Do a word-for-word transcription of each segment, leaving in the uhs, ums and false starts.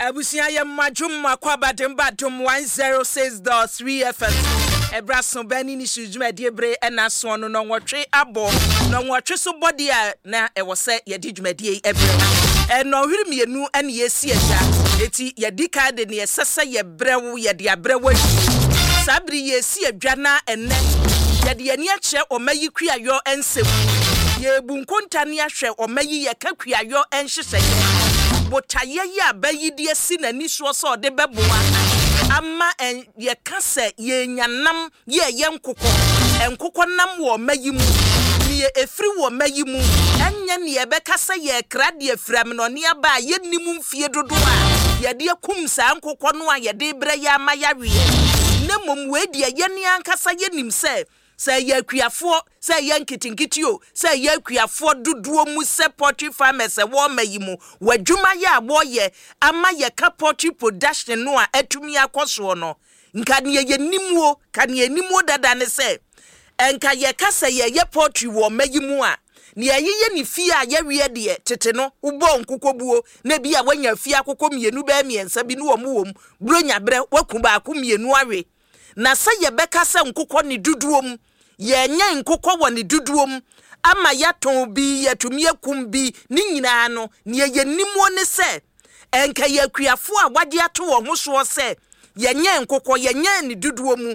Abusua, yɛ mmadwom akɔ abadem Adom one zero six point three F M. Ɛberɛ so bɛn ne ne su dwumadie bere ɛna soɔ no nɔnwɔtwe abɔ nɔnwɔtwe so bɔdeɛ a na ɛwɔ sɛ yɛde dwumadie yi ɛbrɛ. Ɛnɔhwere mmienu ɛne yɛsi agya, eti yɛdi kan de neɛ ɛsɛ sɛ yɛbrɛ wo, yɛde abrɛ wo awie. Saa bere yɛsi adwa na ɛnɛ yɛde yɛni akyerɛ ɔma yi kuayɔ nsɛm. Yɛbu nkonta ne ahwɛ ɔma yi yɛka kuayɔ nhyehyɛeɛ botaeɛ yi a bɛyi de asi n'ani soɔ sɛ ɔde bɛboa ama ɛn yɛka sɛ yɛnya nam yɛɛyɛ nkokɔ, nkokɔ nam wɔ ɔma yi mu, neɛ ɛfiri wɔ ɔma yi mu, ɛnyɛ neɛ ɛbɛka sɛ yɛkra deɛ firi amenɔne aba a yɛnnim mfie dodoɔ a yɛde akum saa nkokɔ no a yɛde brɛ yɛ ama yɛaweɛ, na mmom wei deɛ, yɛne ankasa yɛnim sɛ sɛ ɛyɛ akuafoɔ, sɛ ɛyɛ nketenkete o, sɛ ɛyɛ akuafoɔ dodoɔ mu, sɛ poultry farmers ɛwɔ ɔma yi mu, w'adwuma yɛ a wɔyɛ ama yɛka poultry production no a atumi akɔ soɔ no, nka neɛ yɛnim ka neɛ yɛnim dada ne sɛ ɛnka yɛka sɛ yɛyɛ poultry wɔ ɔma yi mu a, nea yɛyɛ ne fie a yɛweɛ deɛ, tete no wobɔɔ nkokɔbuo na bi a woanya fie akokɔ mmienu bɛɛ mmiɛnsa bi ne wɔ mu wɔ mu buronya berɛ woaku baako mmienu awe. Na sɛ yɛbɛka sɛ nkokɔ ne dodoɔ mu, yɛnyɛ nkokɔ wɔ ne dodoɔ mu ama yɛatɔn bi, yɛatumi akum bi ne nyinaa no, nea yɛnim ne sɛ ɛnka yɛ akuafoɔ a wagye ato wɔn ho soɔ sɛ yɛnyɛ nkokɔ, yɛnyɛ ne dodoɔ mu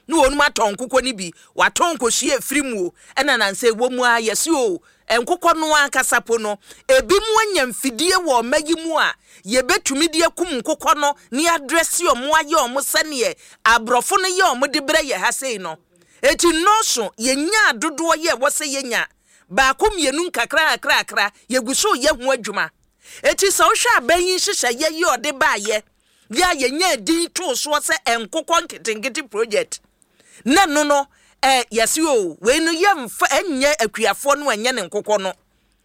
ne wɔn atɔn nkokɔ no bi, watɔn nkosua efiri mu o. Ɛna nansa ɛwɔ mu a yɛsi o, nkokɔ no ankasa po no, ebi mu anya mfidie wɔ ɔma yi mu a yɛbɛtumi de akum nkokɔ no ne adrɛse ɔmo, ayɛ ɔmo sɛneɛ aborɔfo no yɛ ɔmo de brɛ yɛ ha sei no. Eti nnɔɔso yɛnya dodoɔ yɛ ɛwɔ sɛ yɛnya baako mmienu nkakra kakrakra, yɛgu so yɛ ho adwuma. Eti sɛ wohwɛ aban yi nhyehyɛeɛ yi ɔde baayɛ yɛ a yɛnya din too soɔ sɛ nkokɔ nketenkete project na no no ɛ yɛsi o, wei no yɛmfa ɛnyɛ akuafoɔ no, ɛnyɛ ne nkokɔ no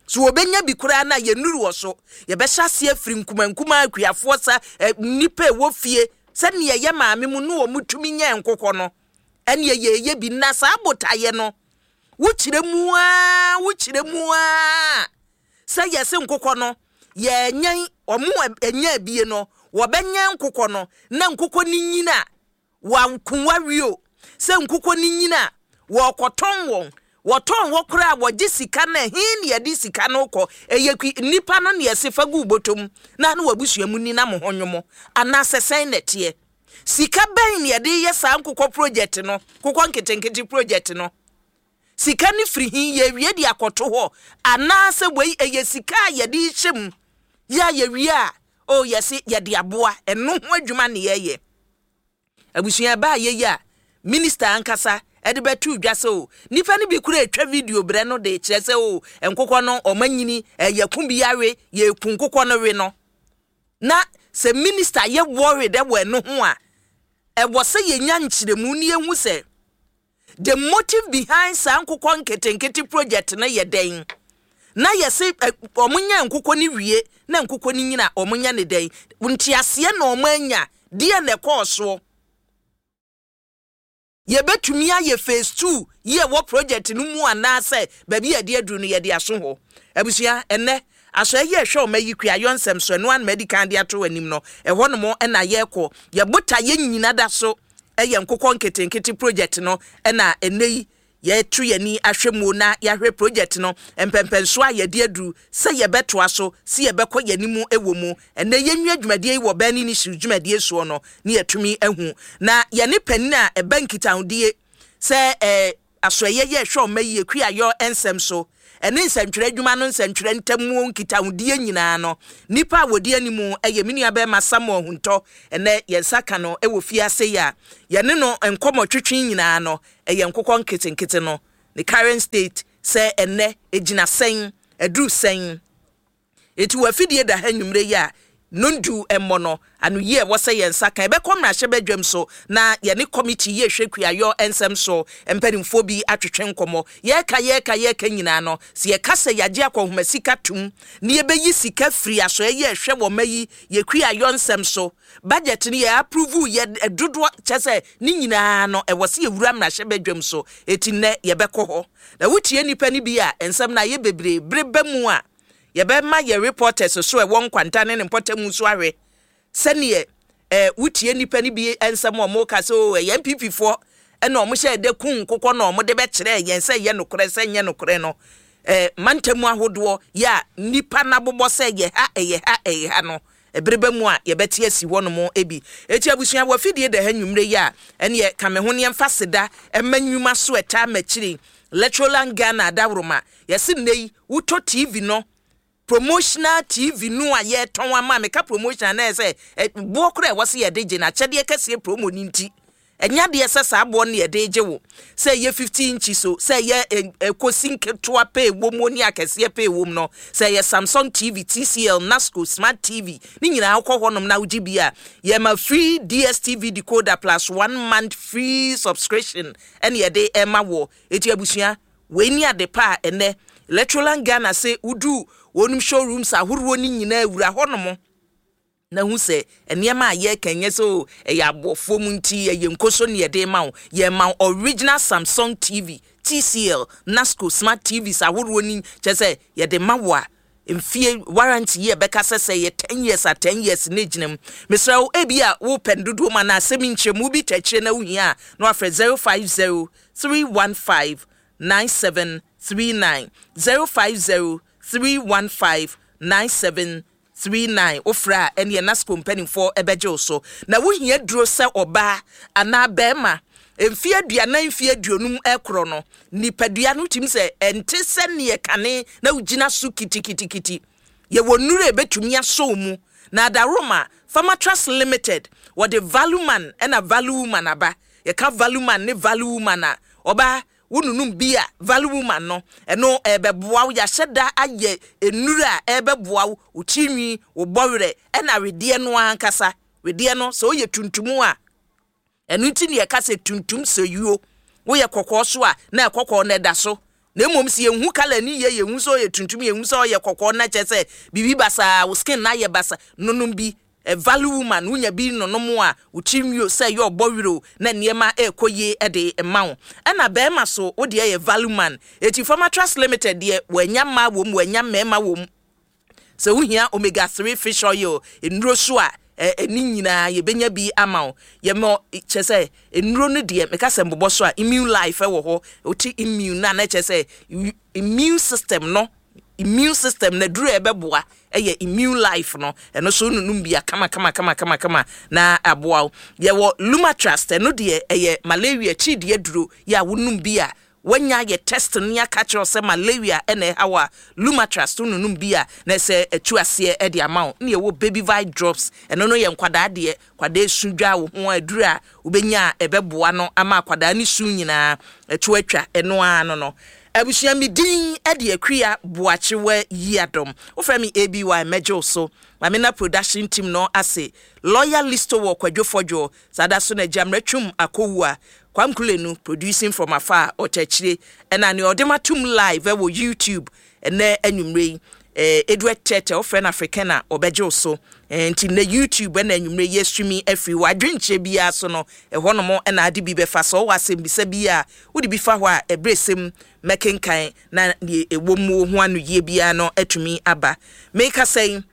so wɔbɛnya bi koraa na yɛnuru wɔ so. Yɛbɛhyɛ aseɛ afiri nkumankuma akuafoɔ sa ɛ nnipa ɛwɔ fie sɛnea ɛyɛ maame mu ne wɔn tumi nyɛ nkokɔ no, ɛnea yɛyɛ bi. Na saa botaeɛ no, wokyerɛ mu aa wokyerɛ mu aa sɛ yɛse nkokɔ no yɛnyɛn ɔmo ɛnyɛ abie no, wɔbɛnyɛn nkokɔ no na nkokɔ no nyina wɔako wawie o, sɛ nkokɔ no nyina wɔkɔtɔn wɔn, wɔtɔn hɔ koraa wɔgye sika no, ɛhe ne yɛde sika no kɔ? Ɛyɛ kui nnipa no ne yɛse fa gu bɔtɔm na ne wabusua mu ni na mo ho nwomo, anaasɛ sɛn na ɛteɛ? Sika bɛn ne yɛde yɛ saa nkokɔ project no, nkokɔ nketenkete project no? Sika no firi hin? Yɛwie de akɔto hɔ, anaasɛ wei ɛyɛ sika a yɛde hyɛ mu yɛ a yɛwie a o yɛse yɛde aboa ɛno ho adwuma ne yɛyɛ? Abusua, ɛbaa yɛyi a minister ankasa ɛde bɛto dwa sɛ o, nipa no bi kura atwa video brɛ no de kyerɛ sɛ o, nkokɔ no ɔma nyini, ɛyɛ ko bi awe, yɛku nkokɔ no we no. Na sɛ minister yɛ worried ɛwɔ ɛno ho a, ɛwɔ sɛ yɛnya nkyerɛmu ne yɛhu sɛ the motive behind saa nkokɔ nketenkete project no yɛ dɛn, na yɛse ɔmo nya nkokɔ no wie na nkokɔ no nyina, ɔmo nya ne dɛn nteaseɛ na ɔmo anya deɛ na ɛkɔɔ soɔ? Yɛbɛtumi ayɛ phase two yi ɛwɔ project no mu, anaasɛ baabi yɛde aduru no yɛde aso hɔ? Abusua, ɛnɛ asɔe yi ɛhwɛ ɔma yi kuayɔ nsɛm so, ɛno anoma adi kan de ato anim no, ɛhɔ nom ɛna yɛrekɔ. Yɛbota yɛn nyina da so ɛyɛ nkokɔ nketenkete project no, ɛna ɛnɛ yi yɛto yɛni ahwɛ mu na yɛahwɛ project no mpɛmpɛnso a yɛde aduru, sɛ yɛbɛtoa so, sɛ yɛbɛkɔ yɛn wɔ mu. Ɛnɛ yɛnwie dwumadie yi wɔ bɛn ne si dwumadie soɔ no ne yɛtumi ahu na yɛne panin a ɛbɛ nkitahodie sɛ ɛɛ asɔɛyɛ yɛ ɛhwɛ ɔma yie kuayɔ nsɛm so, ɛne nsɛntwerɛ adwuma no, nsɛntwerɛ ntamuo nkitahodie nyinaa no, nipa a wɔdi anim ɛyɛ me nua bɛrima Samuel Huntɔ. Ɛnɛ yɛn nsa ka no ɛwɔ fie ase yi a yɛne no nkɔmɔ twitwi nyinaa no ɛyɛ nkokɔ nketenkete no ne current state, sɛ ɛnɛ egyina sɛn, ɛduru sɛn. Eti wɔ afidie da ha nnwumire yi a nondu mmɔ no ano yie ɛwɔ sɛ yɛn nsa kan ɛbɛkɔ mmarahyɛbadwam so na yɛne committee yi ehwɛ kuayɔ nsɛm so mpanimfoɔ bi atwetwe nkɔmmɔ. Yɛreka yɛreka yɛreka nyinaa no, sɛ yɛka sɛ yɛagye akɔnhoma sika tum na yɛbɛyi sika firi asɔɛ yɛ ɛhwɛ wɔ ma yi yɛ kuayɔ nsɛm so budget no yɛ approve yɛ dodoɔ kyɛ sɛ ne nyinaa no ɛwɔ sɛ yɛwura mmarahyɛbadwam so. Eti nnɛ yɛbɛkɔ hɔ na wotie nipa no bi a nsɛm no ayɛ bebree bere ba mu a Yɛbɛma yɛ reporters so ɛwɔ Nkwanta ne ne mpɔtamu so ahwɛ sɛneɛ ɛɛ wotie nipa no bi nsɛm a ɔmo ka sɛ o, ɛyɛ N P P foɔ ɛna ɔmo hyɛ ɛdɛ kun nkokɔ na ɔmo de bɛkyerɛ yɛn sɛ ɛyɛ nokorɛ sɛ nyɛ nokorɛ no. ɛɛ mantamu ahodoɔ yɛ a nipa n'abobɔ sɛ ɛyɛ ha, ɛyɛ ha, ɛyɛ ha no, ɛbere bɛ mu a yɛbɛte asi hɔnom ebi. Eti abusua, wɔ afidie da ha nnwumire yi a, ɛneɛ ka me ho nneɛmfa seda ɛma nnwuma so ɛtaa m'akyiri, Electroland Ghana adaworoma. Yɛsi nne yi wotɔ T V no, promotional T V no a yɛtɔn ama. Meka promotional na yɛ sɛ boɔ koraa ɛwɔ sɛ yɛde gye na akyɛdeɛ kɛseɛ promo no nti, ɛnya deɛ sɛ saa boɔ no yɛde gye wo, sɛ ɛyɛ fifty inches so, sɛ ɛyɛ ɛkɔsi nketewa pɛ ɛwɔ mu ne akɛseɛ pɛ ɛwɔ mu no, sɛ ɛyɛ Samsung T V, T C L, Nasco Smart T V ne nyinaa, wokɔ hɔnom na wogye bi a, yɛma free D S T V decoder plus one month free subscription ɛne yɛde ɛma wɔ. Eti abusua, wei ni ade pa a ɛnɛ Electroland Ghana sɛ wodu wɔnom showrooms ahoroɔ no nyinaa, wura hɔnom na hu sɛ nneɛma a yɛreka nyɛ sɛ o ɛyɛ aboɔfoɔ mu nti ɛyɛ nkoso ne yɛde ma wo. Yɛma wo original Samsung T V, T C L, Nasco Smart T Vs ahoroɔ ni, kyerɛ sɛ yɛde ma wo a, mfie warranty yi ɛbɛka sɛ sɛ yɛ ten years a, ten years ne gyina mu. Mesrɛ wo, ebi a wopɛ no dodoɔ mu anaa asɛm nkyerɛmu bi tɛkyerɛ na wohia a, na wafrɛ zero five zero three one five nine seven three nine, zero five zero three one five nine seven three nine. Wofrɛ a, ɛneɛ Nasco mpanimfoɔ ɛbɛgye wo so. Na wohia duro sɛ ɔbaa anaa bɛrima mfie aduanan, mfie aduonum ɛkorɔ no, nipadua no tumi sɛ ɛnte sɛ neɛ kane na wogyina so kitikitikiti, yɛwɔ nnuro a ɛbɛtumi asɔ mu. Na adaroma Pharmatrust Limited wɔde Value Man ɛna Value Woman aba. Yɛka Value Man ne Value Woman a, ɔbaa wonunum bi a, Value Woman no, ɛno ɛbɛboa wo. Yɛahyɛ da ayɛ nnuro a ɛbɛboa wo, wo tirinwi, wo bɔwerɛ, ɛna wedeɛ no ankasa. Wedeɛ no sɛ woyɛ tuntum a, ɛno nti ne yɛka sɛ tuntum sɛ yuo. Woyɛ kɔkɔɔ so a, na ɛkɔkɔɔ no ɛda so. Na mmom sɛ yɛnhu colour ni yie, yɛnhu sɛ ɔyɛ tuntum, yɛnhu sɛ ɔyɛ kɔkɔɔ, na kyerɛ sɛ biribi basaa, wo skin na ayɛ basa. Nonom bi ɛ Value Woman. Wonya bi nonom a, wo tirinwi o, sɛ ɛyɛ ɔbɔ werɛ o, na nneɛma ɛrekɔ yie ɛde ma wo. Ɛna bɛrima so, wo deɛ yɛ Value Man. Eti Pharmatrust Limited deɛ, wɔanya mmaa wɔ mu, wɔanya mmarima wɔ mu. Sɛ wohia omega three fish oil nnuro so a, ɛne nyinaa yɛbɛnya bi ama wo. Yɛmɔ kyerɛ sɛ nnuro no deɛ, meka sɛ mbobɔ so a, Immune Life ɛwɔ hɔ. Wote immune na na kyerɛ sɛ immune system no, immune system na duro a ɛbɛboa ɛyɛ Immune Life no. Ɛno so nunum bi a, kama kama kama kama kama na aboa wo. Yɛwɔ Lumatrust, ɛno deɛ ɛyɛ malaria kyidiɛ duro yɛ a, wonum bi a, wanya yɛ test no aka kyerɛ sɛ malaria ɛna ɛha wɔ a, Lumatrust nunum bi a, na ɛsɛ ɛtu aseɛ ɛde ama wo. Ne yɛwɔ Baby Vite Drops, ɛno no yɛ nkwadaa deɛ. Kwadaa esu dwa wo ho aduru a wobɛnya a, ɛbɛboa no ama akwadaa ne su nyinaa ɛto atwa. Ɛno ara no no abusua, mi din ɛde Akua Boakyewa Yi Adɔm. Wofrɛ me A B Y, mɛgye wo so. Maame na production team no ase, Lawyer Listo wɔ Kwadwo Fɔdwo saa da so na Gyamrɛ Twum Akɔwu a Kwamkulenu producing from afar, ɔkyerɛkyerɛ ɛna nea ɔde ma tum live ɛwɔ YouTube ɛnɛ anwummerɛ yi, ɛɛ Edward Tɛtɛ. Wofrɛ no African a, ɔbɛgye wo so. ɛɛ nti nnɛ YouTube ɛna anwummerɛ yi streaming afiri wɔ adwenkyerɛ biara so no, ɛhɔnom ɛna ade bi bɛfa so. Ɔwɔ asɛmbisa bi a wode bi fa hɔ a, ɛberɛ sɛm mɛkenkan na deɛ ɛwɔ mu ho ano yie biara no atumi aba. Meka sɛn,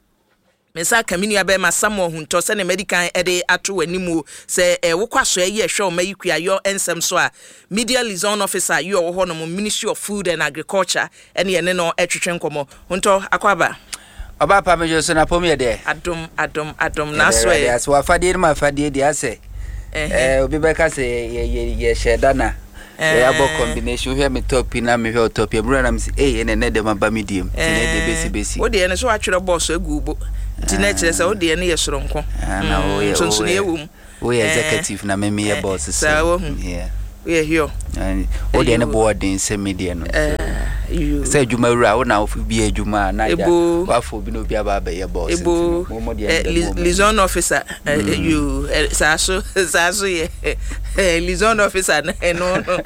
me nsa aka me nua bɛrima Samuel Huntɔ sɛne madi kan de ato w'anim o sɛ eh, wokɔ asoɛ yi ɛhwɛ ɔma yi kuayɔ nsɛm so a, media liaison officer yi ɔwɔ hɔ nom, Ministry of Food and Agriculture, ɛne ɛne no ɛtwetwe nkɔmmɔ. Huntɔ, akɔ aba. Ɔba pa, medwo so na pɔm yɛ deɛ. Adom, adom, adom na so ɛ. Ase wafadeɛ no ma afadeɛ deɛ asɛ ɛɛ obi bɛka sɛ yɛhyɛ da na yɛabɔ combination. Wohwɛ me top yi na mehwɛ wo top yi, mmerɛ na mesi ei, ɛnɛ nɛ dɛm aba me diem nti na ɛde bɛsi bɛsi. Wo deɛ no so atwerɛ bɔɔso agu wo bo nti na ɛkyerɛ sɛ wo deɛ no yɛ soronko. Na woyɛ nsonsonoeɛ wɔ mu. Woyɛ executive na me meyɛ boss. Saa wahu, woyɛ hio. Wo deɛ no boɔ den sɛ me deɛ no, sɛ adwuma wura wo na bi adwuma a na agya wafɔ obi na obi aba abɛyɛ boss. Ebo liaison officer yo, saa so saa so yɛ liaison officer no ɛno no.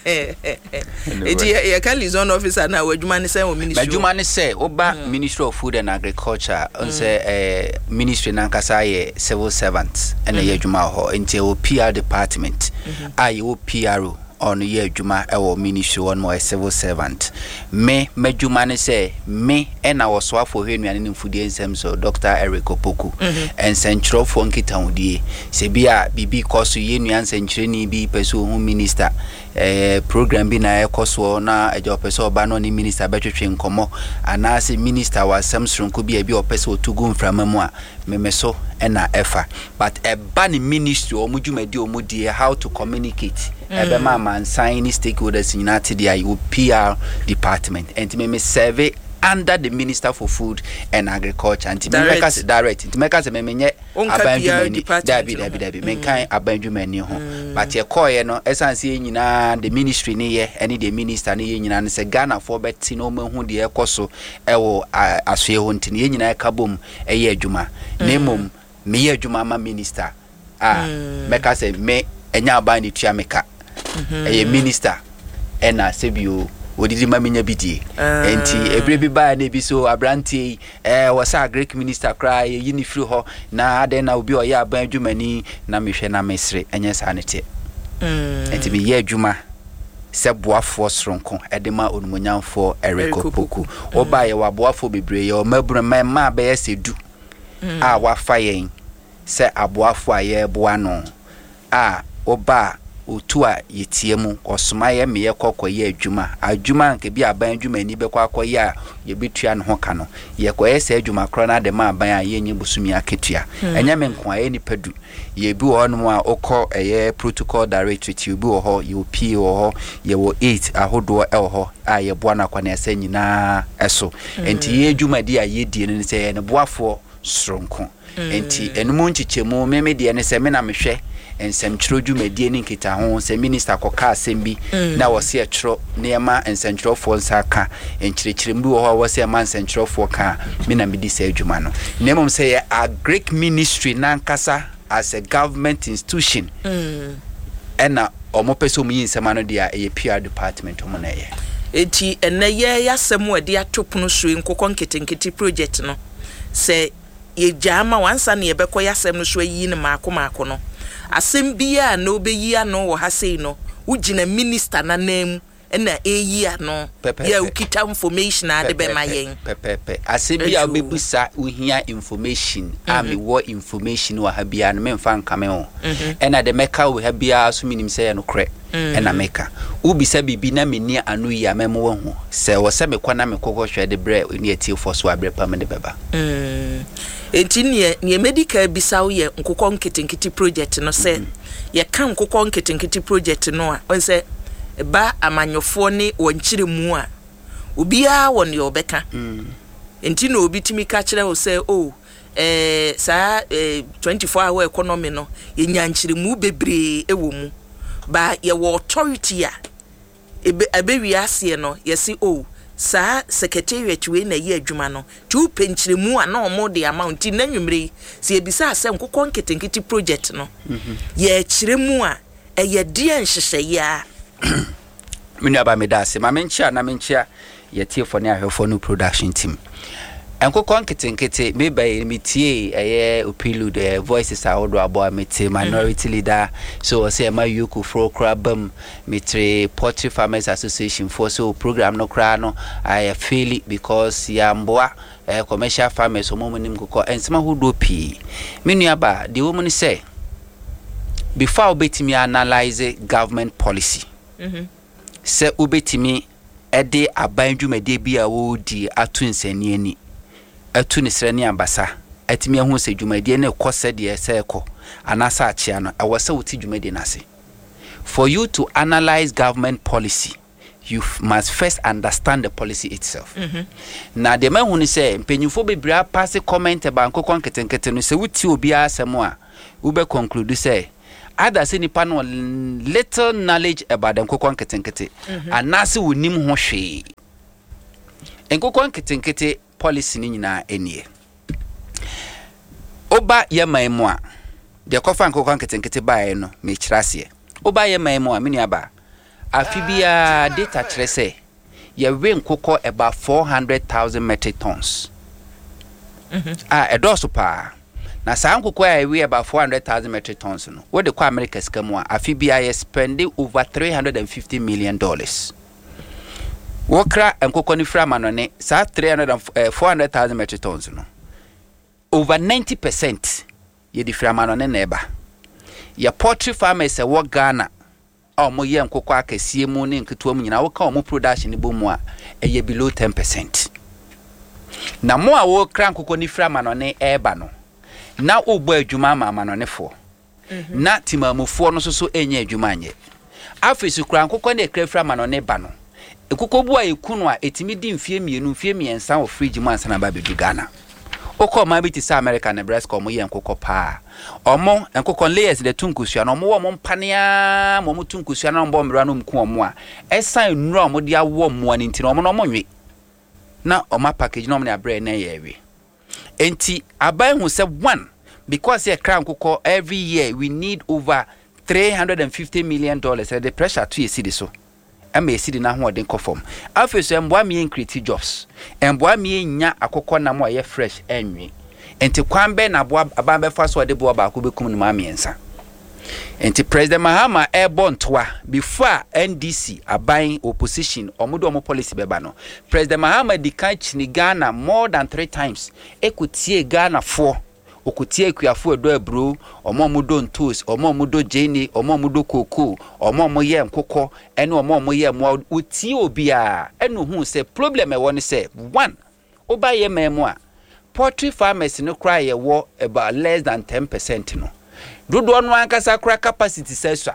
Eti yɛka liaison officer na w'adwuma ne sɛ wɔ ministry? M'adwuma ne sɛ woba Ministry of Food and Agriculture n sɛ ɛɛ ministry nankasa yɛ civil servant ɛna ɛyɛ adwuma wɔ hɔ, nti ɛwɔ P R department a yɛwɔ P R O. Ɔno yɛ adwuma ɛwɔ ministry hɔ no, ɔyɛ civil servant. Me m'adwuma ne sɛ me ɛna wɔsoafoɔ hwɛ nnuane ne mfudie nsɛm so, Doctor Eric Opoku, nsɛntwerɛfoɔ nkitahodie. Sɛ bi a biribi kɔ so, yɛ nua nsɛntwerɛni bi pɛ sɛ ɔhu minister, ɛɛ program bi na ɛkɔ soɔ na ɛgya ɔpɛ sɛ ɔba na ɔne minister bɛtwetwe nkɔmmɔ, anaasɛ minister wɔ asɛm soronko bi a ebi a ɔpɛ sɛ ɔtu gu mframa mu a, meme so ɛna ɛfa. But ɛba ne ministry ɔmo dwumadi ɔmo die, how to communicate ɛbɛma amansan ne stakeholders nyinaa te deɛ, ayɛ P R department. Nti meme serve under the Minister for Food and Agriculture. Nti Direct. mɛka sɛ direct, nti mɛka sɛ memenyɛ Wonka aban P R dwumani. department Dabi, no dabi, ho. Dabi, menka aban dwumani ho. But yɛkɔɔyɛ no, ɛsiane sɛ yɛn nyinaa the ministry ne yɛ ɛne the minister ne yɛ nyinaa no sɛ Ghanafoɔ bɛte na ɔmahu deɛ ɛkɔ so ɛwɔ a- asoɛ hɔ, nti no yɛn nyinaa ɛka bom ɛyɛ adwuma. Na mmom meyɛ adwuma ma minister a, mɛka sɛ me ɛnyɛ aban ne tua me ka, ɛyɛ minister ɛna sɛbio odidi ma menya bi die. Nti ebire bi baa na ebi so aberanteɛ yi ɛɛ wɔ sɛ agric minister koraa yɛyi ne firi hɔ na adɛn na obi a ɔyɛ aban adwumani? Na mehwɛ na mesere, ɛnyɛ saa ne teɛ. Nti meyɛ adwuma sɛ boafoɔ soronko ɛde ma onumonyamfoɔ Eric Eric Opoku. Ɔbaa yɛwɔ aboafoɔ bebree, yɛwɔ mmabunu mmaa bɛyɛ sɛ du a wafa yɛn sɛ aboafoɔ a yɛreboa no a, ɔba a otu a yɛtie mu, ɔsoma yɛ meyɛ kɔ kɔyɛ adwuma. Adwuma nka bi aban adwumani bɛkɔ akɔyɛ a yɛbɛtua ne ho ka no, yɛkɔyɛ saa adwuma korɔ no ade ma aban a yɛnyɛ bosome akatua. Ɛnyɛ me nko a, ɛyɛ nipa du. Yɛbi wɔ hɔnom a wokɔ ɛyɛ protocol directorate, obi wɔ hɔ, yɛwɔ P A wɔ hɔ, yɛwɔ eight ahodoɔ ɛwɔ hɔ a yɛboa no akɔneasa nyinaa ɛso. Nti yɛ adwumadi a yɛdie no ne sɛ yɛyɛ ne boafoɔ soronko. Nti ɛno nkyekyɛmu meme deɛ ne sɛ me na mehwɛ nsɛmtwerɛ dwumadie ne nkitaho. Sɛ minister kɔka asɛm bi na wɔse ɛtwerɛ nneɛma, nsɛntwerɛfoɔ nsa ka nkyerɛkyerɛmu bi wɔ hɔ a wɔsɛ ɛma nsɛntwerɛfoɔ ka a, me na medi saa adwuma no. Na mmom sɛ yɛ agric ministry nankasa as a government institution ɛna ɔmo pɛ sɛ ɔmo yi nsɛm ano deɛ a, ɛyɛ P R department ɔmo na ɛyɛ. Eti ɛnɛ yɛ yɛasɛm a ɛde ato pono so yi, nkokɔ nketenkete project no, sɛ yɛgyaa ma wansa ne yɛbɛkɔ yɛasɛm no so ayi no maako maako no, asɛm biara na wobɛyi ano wɔ ha sei no, wogyina minister n'anan mu ɛna ɛyi ano? Pɛpɛɛpɛ. Yɛ a wokita information a ade bɛma yɛn. Pɛpɛɛpɛ. Asɛm bi a Adwo. wobɛbusa, wohia information a, mewɔ information wɔ ha biara no, memfa nkame ho. Ɛna de mɛka wɔ ha biara so, menim sɛ yɛ nokorɛ. Ɛna meka wobisa biribi na menni ano yi a, mɛma wahu sɛ wɔ sɛ mekɔ na mekɔkɔhwɛ de berɛ ne atiefoɔ so a, berɛ pa mede bɛba. Mm. Enti neɛ neɛ mɛdi ka bisa wo yɛ nkokɔ nketenkete project no. Sɛ yɛka nkokɔ nketenkete project no a, ɔn sɛ ɛba amanyɔfoɔ ne wɔn nkyerɛmu a, obiara wɔ neɛ ɔbɛka. Nti na obi tumi ka kyerɛ wo sɛ o ɛɛ saa ɛɛ twenty-four hour economy no, yɛnya nkyerɛmu bebree ɛwɔ mu ba, yɛwɔ authority a ebe ɛbɛwie aseɛ no, yɛsi o saa secretariat wei na ɛyɛ adwuma no. Nti wopɛ nkyerɛmu a, na ɔmo de ama wo. Nti n'anwummerɛ yi, sɛ yɛbisa sɛ nkokɔ nketenkete project no, yɛkyerɛ mu a, ɛyɛ deɛ nhyehyɛeɛ a? Me nuaba, meda ase. Ma menkyea na menkyea yɛtiefoɔ ne ahwɛfoɔ no, production team. Nkokɔ nketenkete, meba yi metie ɛyɛ prelude, ɛyɛ voices ahodoɔ aboa. Mete minority leader so wɔ sɛ ɛma EOCO foɔ koraa ba mu. Metere Poultry Farmers Association foɔ so program no koraa no ayɛ fail because yɛamboa ɛyɛ commercial farmers, ɔmo mu nim nkokɔ. Nsɛm ahodoɔ pii, me nuaba, deɛ wɔ mu ne sɛ before a wobɛtumi analyse government policy, sɛ wobɛtumi ɛde aban dwumadie bi a wɔredi ato nsani ani, atu ne serɛ ne abasa, atumi ahu sɛ dwumadie no kɔ sɛdeɛ sɛ ɛkɔ anaasɛ akyea no, ɛwɔ sɛ wote dwumadie no ase. For you to analyse government policy, you f- must first understand the policy itself. Na deɛ mahu ne sɛ mpanyinfoɔ bebree apase comment about nkokɔ nketenkete no. Sɛ wotie obiara asɛm a, wobɛ conclude sɛ either sɛ nipa no wɔ little knowledge about the nkokɔ nketenkete anaasɛ wɔnim ho hwee. Nkokɔ nketenkete policy no nyinaa nie. Woba yɛ man mu a, deɛ kɔfa nkokɔ nketenkete baeɛ no, mekyerɛ aseɛ. Woba yɛ man mu a, me nuaba, afe biara data kyerɛ sɛ yɛwe nkokɔ about four hundred thousand metric tons a ɛdɔɔso paa. Na saa nkokɔ a ɛwe about four hundred thousand metric tons no, wode kɔ America sika mu a, afe biara yɛ spend over three hundred and fifty million dollars. Wokra nkokɔ no firi amanɔne, saa three hundred and eh, four hundred thousand metric tons no, over ninety percent yɛde firi amanɔne na ɛba. Yɛ poultry farmers ɛwɔ Ghana a wɔyɛ nkokɔ akɛseɛ mu ne nketewa mu nyinaa, woka wɔn production no bɔ mu a, ɛyɛ below ten percent. Na mo a wɔkra nkokɔ no firi amanɔne ɛreba no, na wobɔ adwuma ama amanɔnefoɔ, na timamufoɔ no nso so ɛnyɛ adwuma anyɛ. Afei so kura nkokɔ no ɛkra firi amanɔne ba no, nkokɔ bu a ɛku no a, ɛtumi di mfie mmienu, mfie mmiɛnsa wɔ fridge mu ansa na ba bɛdu Ghana. Wokɔ ɔman bi te sɛ America, Nebraska, ɔmo yɛ nkokɔ paa. Ɔmo nkokɔ layers de tu nkosua no, ɔmo wɔ ɔmo mpaneaa ma ɔmo tu nkosua na ɔmo bɔ mmerɛ no ɔmo ku ɔmo a, ɛsan nnuro a ɔmo de awɔ mmoa no nti no, ɔmo no ɔmo nwe na ɔmo apackage na ɔmo de abrɛ na ɛyɛ ɛwe. Nti aban hu sɛ one, because yɛ kra nkokɔ every year we need over three hundred and fifty million dollars, ɛde pressure to yɛ cedi so ɛma yɛ cedi n'ahoɔden kɔ fam. Afei so mboa mi yɛn create jobs, mboa mi yɛn nya akokɔ nam a ɛyɛ fresh ɛnwe. Nti kwan bɛn na aboa aban bɛfa so a ɔde boa baako bɛkum no maa mmiɛnsa? Nti President Mahama ɛrebɔ ntoa before a N D C aban opposition ɔmo de ɔmo policy bɛba no, President Mahama di kan kyini Ghana more than three times, ɛkɔtie Ghanafoɔ, okotie akuafoɔ ɛdɔ aburo, ɔmo a ɔmo dɔ ntoos, ɔmo a ɔmo dɔ gyeene, ɔmo a ɔmo dɔ kookoo, ɔmo a ɔmo yɛ nkokɔ ɛne ɔmo a ɔmo yɛ mmoa. Otie obiara ɛna ohun sɛ problem ɛwɔ ne sɛ, one, woba yɛ man mu a, poultry farmers no koraa yɛwɔ about less than ten percent no, dodoɔ no ankasa koraa capacity sɛ sua.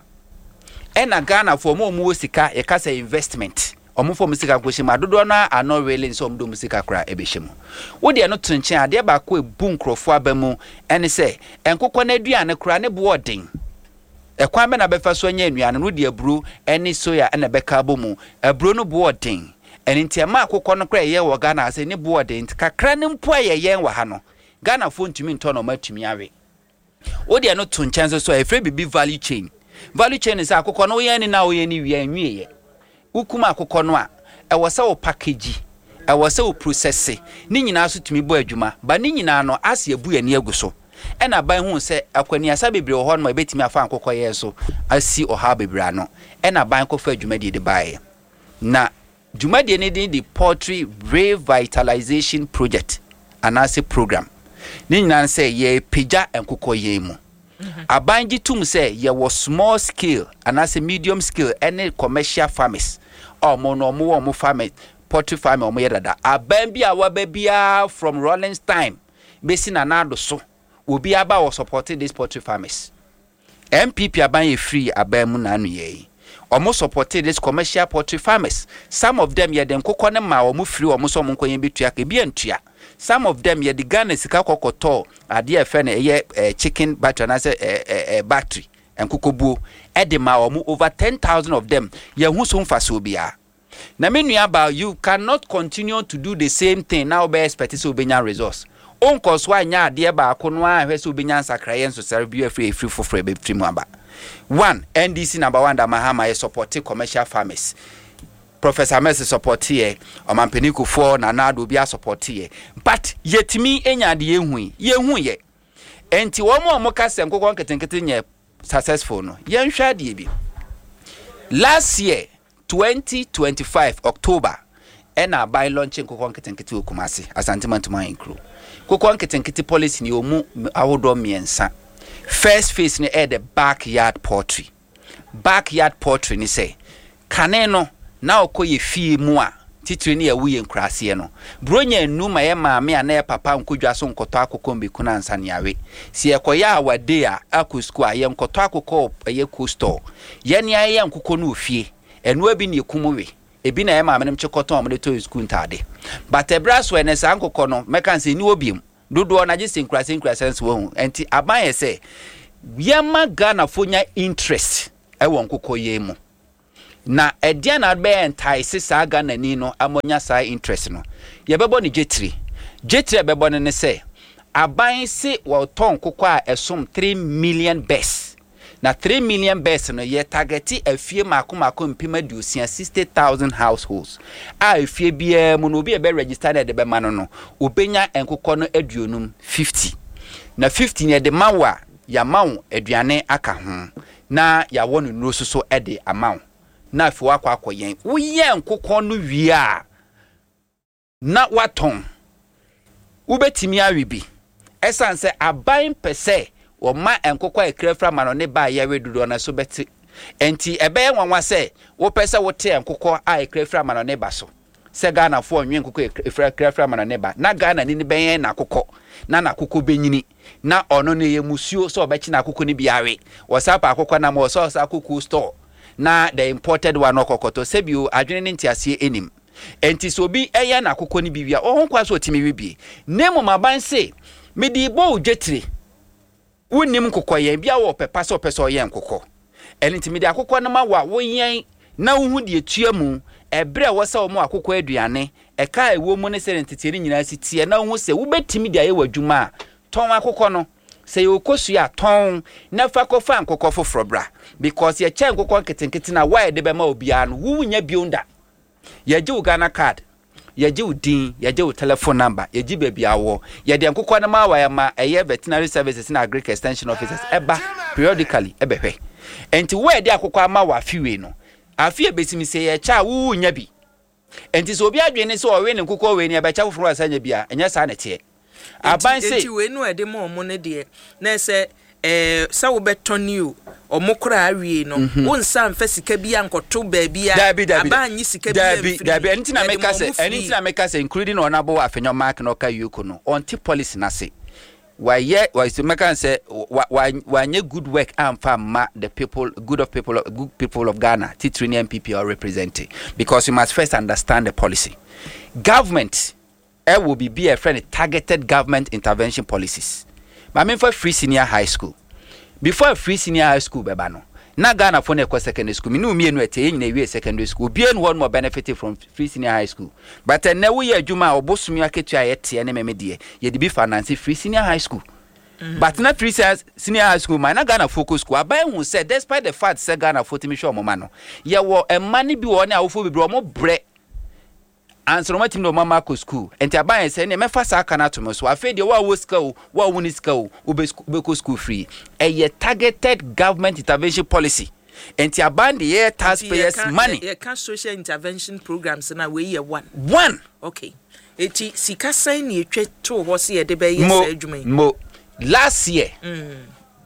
Ɛna Ghanafoɔ, ɔmo a ɔmo wɔ sika, yɛka sɛ investment, ɔmo fɔ ɔmo sika nkɔhyɛ mu a, dodoɔ no are not willing sɛ ɔmo de ɔmo sika koraa ɛbɛhyɛ mu. Wodeɛ no to nkyɛn, adeɛ baako ebu nkurɔfoɔ aba mu ɛne sɛ nkokɔ no aduane koraa ne boɔ ɔden. Ɛkwan bɛ na bɛfa so anya nnuane no, wode aburo ɛne soya ɛna bɛka abɔ mu. Aburo no boɔ ɔden, ɛno nti ɛma akokɔ no koraa ɛyɛ wɔ Ghana ase ne boɔ ɔden. Nti kakra no mpo a yɛyɛn wɔ ha no, Ghanafoɔ ntumi ntɔ na ɔmo atumi awe. Wodeɛ no to nkyɛn nso so a, yɛfrɛ biribi value chain. Value chain sɛ akokɔ no woyɛn ne na woyɛn ne wie nwieɛ, wokum akokɔ no a, ɛwɔ sɛ wo package, ɛwɔ sɛ wo process ne nyinaa so tumi bɔ adwuma ba ne nyinaa no ase abu ani agu so. Ɛna aban hu sɛ akwaniasa bebree wɔ hɔ nom a ɛbɛtumi afa nkokɔ yɛn so asi ɔhaw bebree ano. Ɛna aban kɔfa dwumadie de baeɛ, na dwumadie no din de Poultry Revitalization Project anaasɛ program. Ne nyinaa sɛ yɛpagya nkokɔ yɛn mu. Aban gye tom sɛ yɛwɔ small scale anaasɛ medium scale ɛne commercial farmers a ɔmo no ɔmo wɔ ɔmo farming, poultry farming ɔmo yɛ dada. Aban bi a waba biara from Rawlings time bɛsi Nana Addo so, obi aba wɔ support this poultry farmers. N P P aban yɛ free aban mu n'ano yɛ yi, ɔmo support this commercial poultry farmers. Some of them, yɛde nkokɔ ne ma ɔmo firi ɔmo sɛ ɔmo nkɔ yɛn bɛtua ka, ebi antua. Some of them, yɛde Ghana sika kɔkɔtɔ adeɛ a ɛfɛ no ɛyɛ ɛɛ chicken battery anaasɛ ɛɛ ɛɛ battery nkokɔbuo ɛde ma ɔmo, over ten thousand of them. Yɛn ho so mfasoɔ biara na me nua ba, you cannot continue to do the same thing na wobɛ expect sɛ wobɛnya resource. Wonkɔ so anyɛ adeɛ baako no a hwɛ sɛ wobɛnya nsakraeɛ nsosɛre bi afiri efiri foforɔ ɛbɛfiri mu aba. One, N D C number one da Mahama yɛ support commercial farmers. Professor Mills support yɛ, Ɔmampanin Kufuor, Nana Addo, obi asupport yɛ, but yɛtumi nya adeɛ yɛhu yi, yɛhu yɛ. Nti wɔn a wɔka sɛ nkokɔ nketenkete nyɛ successful no, yɛnhwɛ adeɛ bi. Last year, twenty twenty-five October, ɛna aban launch nkokɔ nketenkete wɔ Kumase, Asante Mantoma Ahenkuro. Nkokɔ nketenkete policy ni ɔmu ahodoɔ mmiɛnsa. First phase no ɛyɛ the backyard poultry. Backyard poultry ni sɛ kane no na ɔkɔ yɛ fie mu a, titiri ne yɛwo yɛ nkuraseɛ no, buronya enu ma yɛ maame a na yɛ papa nkɔ so nkɔtɔ akokɔ mbɛku no ansa ne awe. Si yɛkɔyɛ awade a, akɔ sukuu a, yɛnkɔtɔ akokɔ ɛyɛ co store. Yɛne ayɛyɛ nkokɔ no wɔ fie, ɛnoa bi ne ekum we, ebi na yɛ maame no kye kɔtɔn a wɔde tɔ yɛ sukuu ntaade. But ɛbrɛ so ɛnɛ saa nkokɔ no, mɛka sɛ ni wɔ biem dodoɔ na gye sɛ nkurase nkurase nso wɔ ho. Nti aban yɛ sɛ yɛma Ghanafoɔ nya interest ɛwɔ nkokɔ yɛn mu. Na ɛdeɛn na bɛyɛ entice saa Ghanani no ama ɔnya saa interest no? Yɛbɛbɔ ne gyetiri. Gyetiri a ɛbɛbɔ no ne sɛ aban se wɔtɔ nkokɔ a ɛsom three million birds, na three million birds no, yɛ target afie mako mako mpem aduosia, sixty thousand households a efie biara mu no, obi a ɛbɛ register na ɛde bɛma no no, obenya nkokɔ no aduonum, fifty. Na fifty no, yɛde ma wo a, yɛama wo aduane aka ho na yɛawɔ no nnuro soso de ama wo, na afei wakɔ akɔyɛn. Woyɛ nkokɔ no wie a, na watɔn, wobɛtumi awe bi, ɛsiane sɛ aban pɛ sɛ wɔma nkokɔ a ɛkura fira ma no ne ba a yɛwe dodoɔ no so bɛte. Nti ɛbɛyɛ nwanwa sɛ wopɛ sɛ wote nkokɔ a ɛkura fira ma no ne ba so, sɛ Ghanafoɔ nwe nkokɔ ɛkura fira ma no ne ba, na Ghana ni ne bɛyɛn n'akokɔ na n'akokɔ bɛnyini na ɔno no yɛ musuo sɛ ɔbɛkye n'akokɔ no bi awe. Wɔsa pa akokɔ nam wɔ sɛ ɔsa akokɔ store na the imported one ɔkɔkɔtɔ. Sɛbio, adwene ne nteaseɛ anim. Nti sɛ obi ɛyɛ n'akokɔ no bi wie a, ɔho kwa sɛ ɔtumi we bie, na mmom aban se mede bɔ wo dwetire, wonnim nkokɔ yɛn bia, wɔ pɛpa sɛ ɔpɛ sɛ ɔyɛ nkokɔ. Ɛno nti mede akokɔ no ma wo a, woyɛn na wohu deɛ tua mu, ɛberɛ a ɛwɔ sɛ wɔn akokɔ aduane ɛka a ɛwɔ mu ne sɛ nteteɛ no nyinaa si teɛ, na wohu sɛ wobɛtumi de ayɛ w'adwuma a, tɔn akokɔ no. Sɛ yɛ okosua a, tɔn na fa kɔfa nkokɔ foforɔ bra, because yɛkyɛ nkokɔ nketenkete na wa yɛde bɛma obiara no, wonya bio da. Yɛgye wo Ghana Card, yɛgye wo din, yɛgye wo telephone number, yɛgye baabi awɔ. Yɛde nkokɔ no ma wa ma ɛyɛ veterinary services na agric extension officers ɛba periodically ɛbɛhwɛ. Nti wo a yɛde akokɔ ama wɔ afi wei no, afi ebesimi sɛ yɛkyɛ a, wowu nya bi. Nti sɛ obi adwene ne sɛ ɔwe ne nkokɔ wei ne ɛbɛkyɛ foforɔ a, sɛ nya bi a, ɛnyɛ saa na ɛteɛ. Aban se nti wei no a ɛde ma ɔmo no deɛ, na sɛ ɛɛ sɛ wobɛtɔ ni o, ɔmo koraa awie no, wo nsa nfa sika bi ankɔto baabi a Dabi, dabi. Aba anyi sika bi Dabi. amfiri. Dabi, ɛno nti na Yɛde meka ma sɛ ɔmo ɛno free. nti na meka sɛ including Honourable Afenyo Mark na ɔka E O C O no, ɔnte policy n'ase. Wayɛ wayɛ mɛka sɛ wa wa wanyɛ good work amfa ma the people, good of people, good people of Ghana, titiri ne N P P or represent, because you must first understand the policy. Government ɛwɔ biribi a yɛfrɛ no targeted government intervention policies. Maame, nfa free senior high school. Before free senior high school bɛba no, na Ghana fo no ɛkɔ secondary school. Mene mmienu ɛte yɛn nyinaa ewie secondary school, obiara nu hɔ no benefit from free senior high school. But ɛnɛ woyɛ adwuma a, ɔbosomi akatua a yɛteɛ ne mɛmɛ deɛ, yɛde bi finance free senior high school mm. But na free senior high school ma na Ghana fo kɔ school. Aban hu sɛ despite the fact sɛ Ghana fo tumi hwɛ ɔmo ma no, yɛwɔ mma no bi wɔ ne awofo bebree, ɔmo brɛ ansa na ɔmatumi de ɔmo ama akɔ school. Nti aban yɛ sɛ ɛnna mɛfa saa aka no ato mo so. Afei deɛ, wo a wɔ sika o, wo a wo ne sika o, wobɛkɔ school free. Ɛyɛ targeted government intervention policy. Nti aban de yɛ taxpayers money. Yɛka social intervention programs na wei yɛ one. One. Okay, eti sika sɛn na etwa to hɔ sɛ yɛde bɛyɛ saa adwuma yi? Mo last year mm.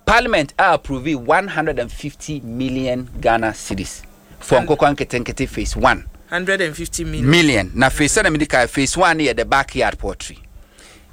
Parliament approve one hundred and fifty million Ghana cedis for nkokɔ nketenkete phase one. Hundred and fifty million. Million na phase sɛ na mi di ka, phase one yɛ the backyard poultry.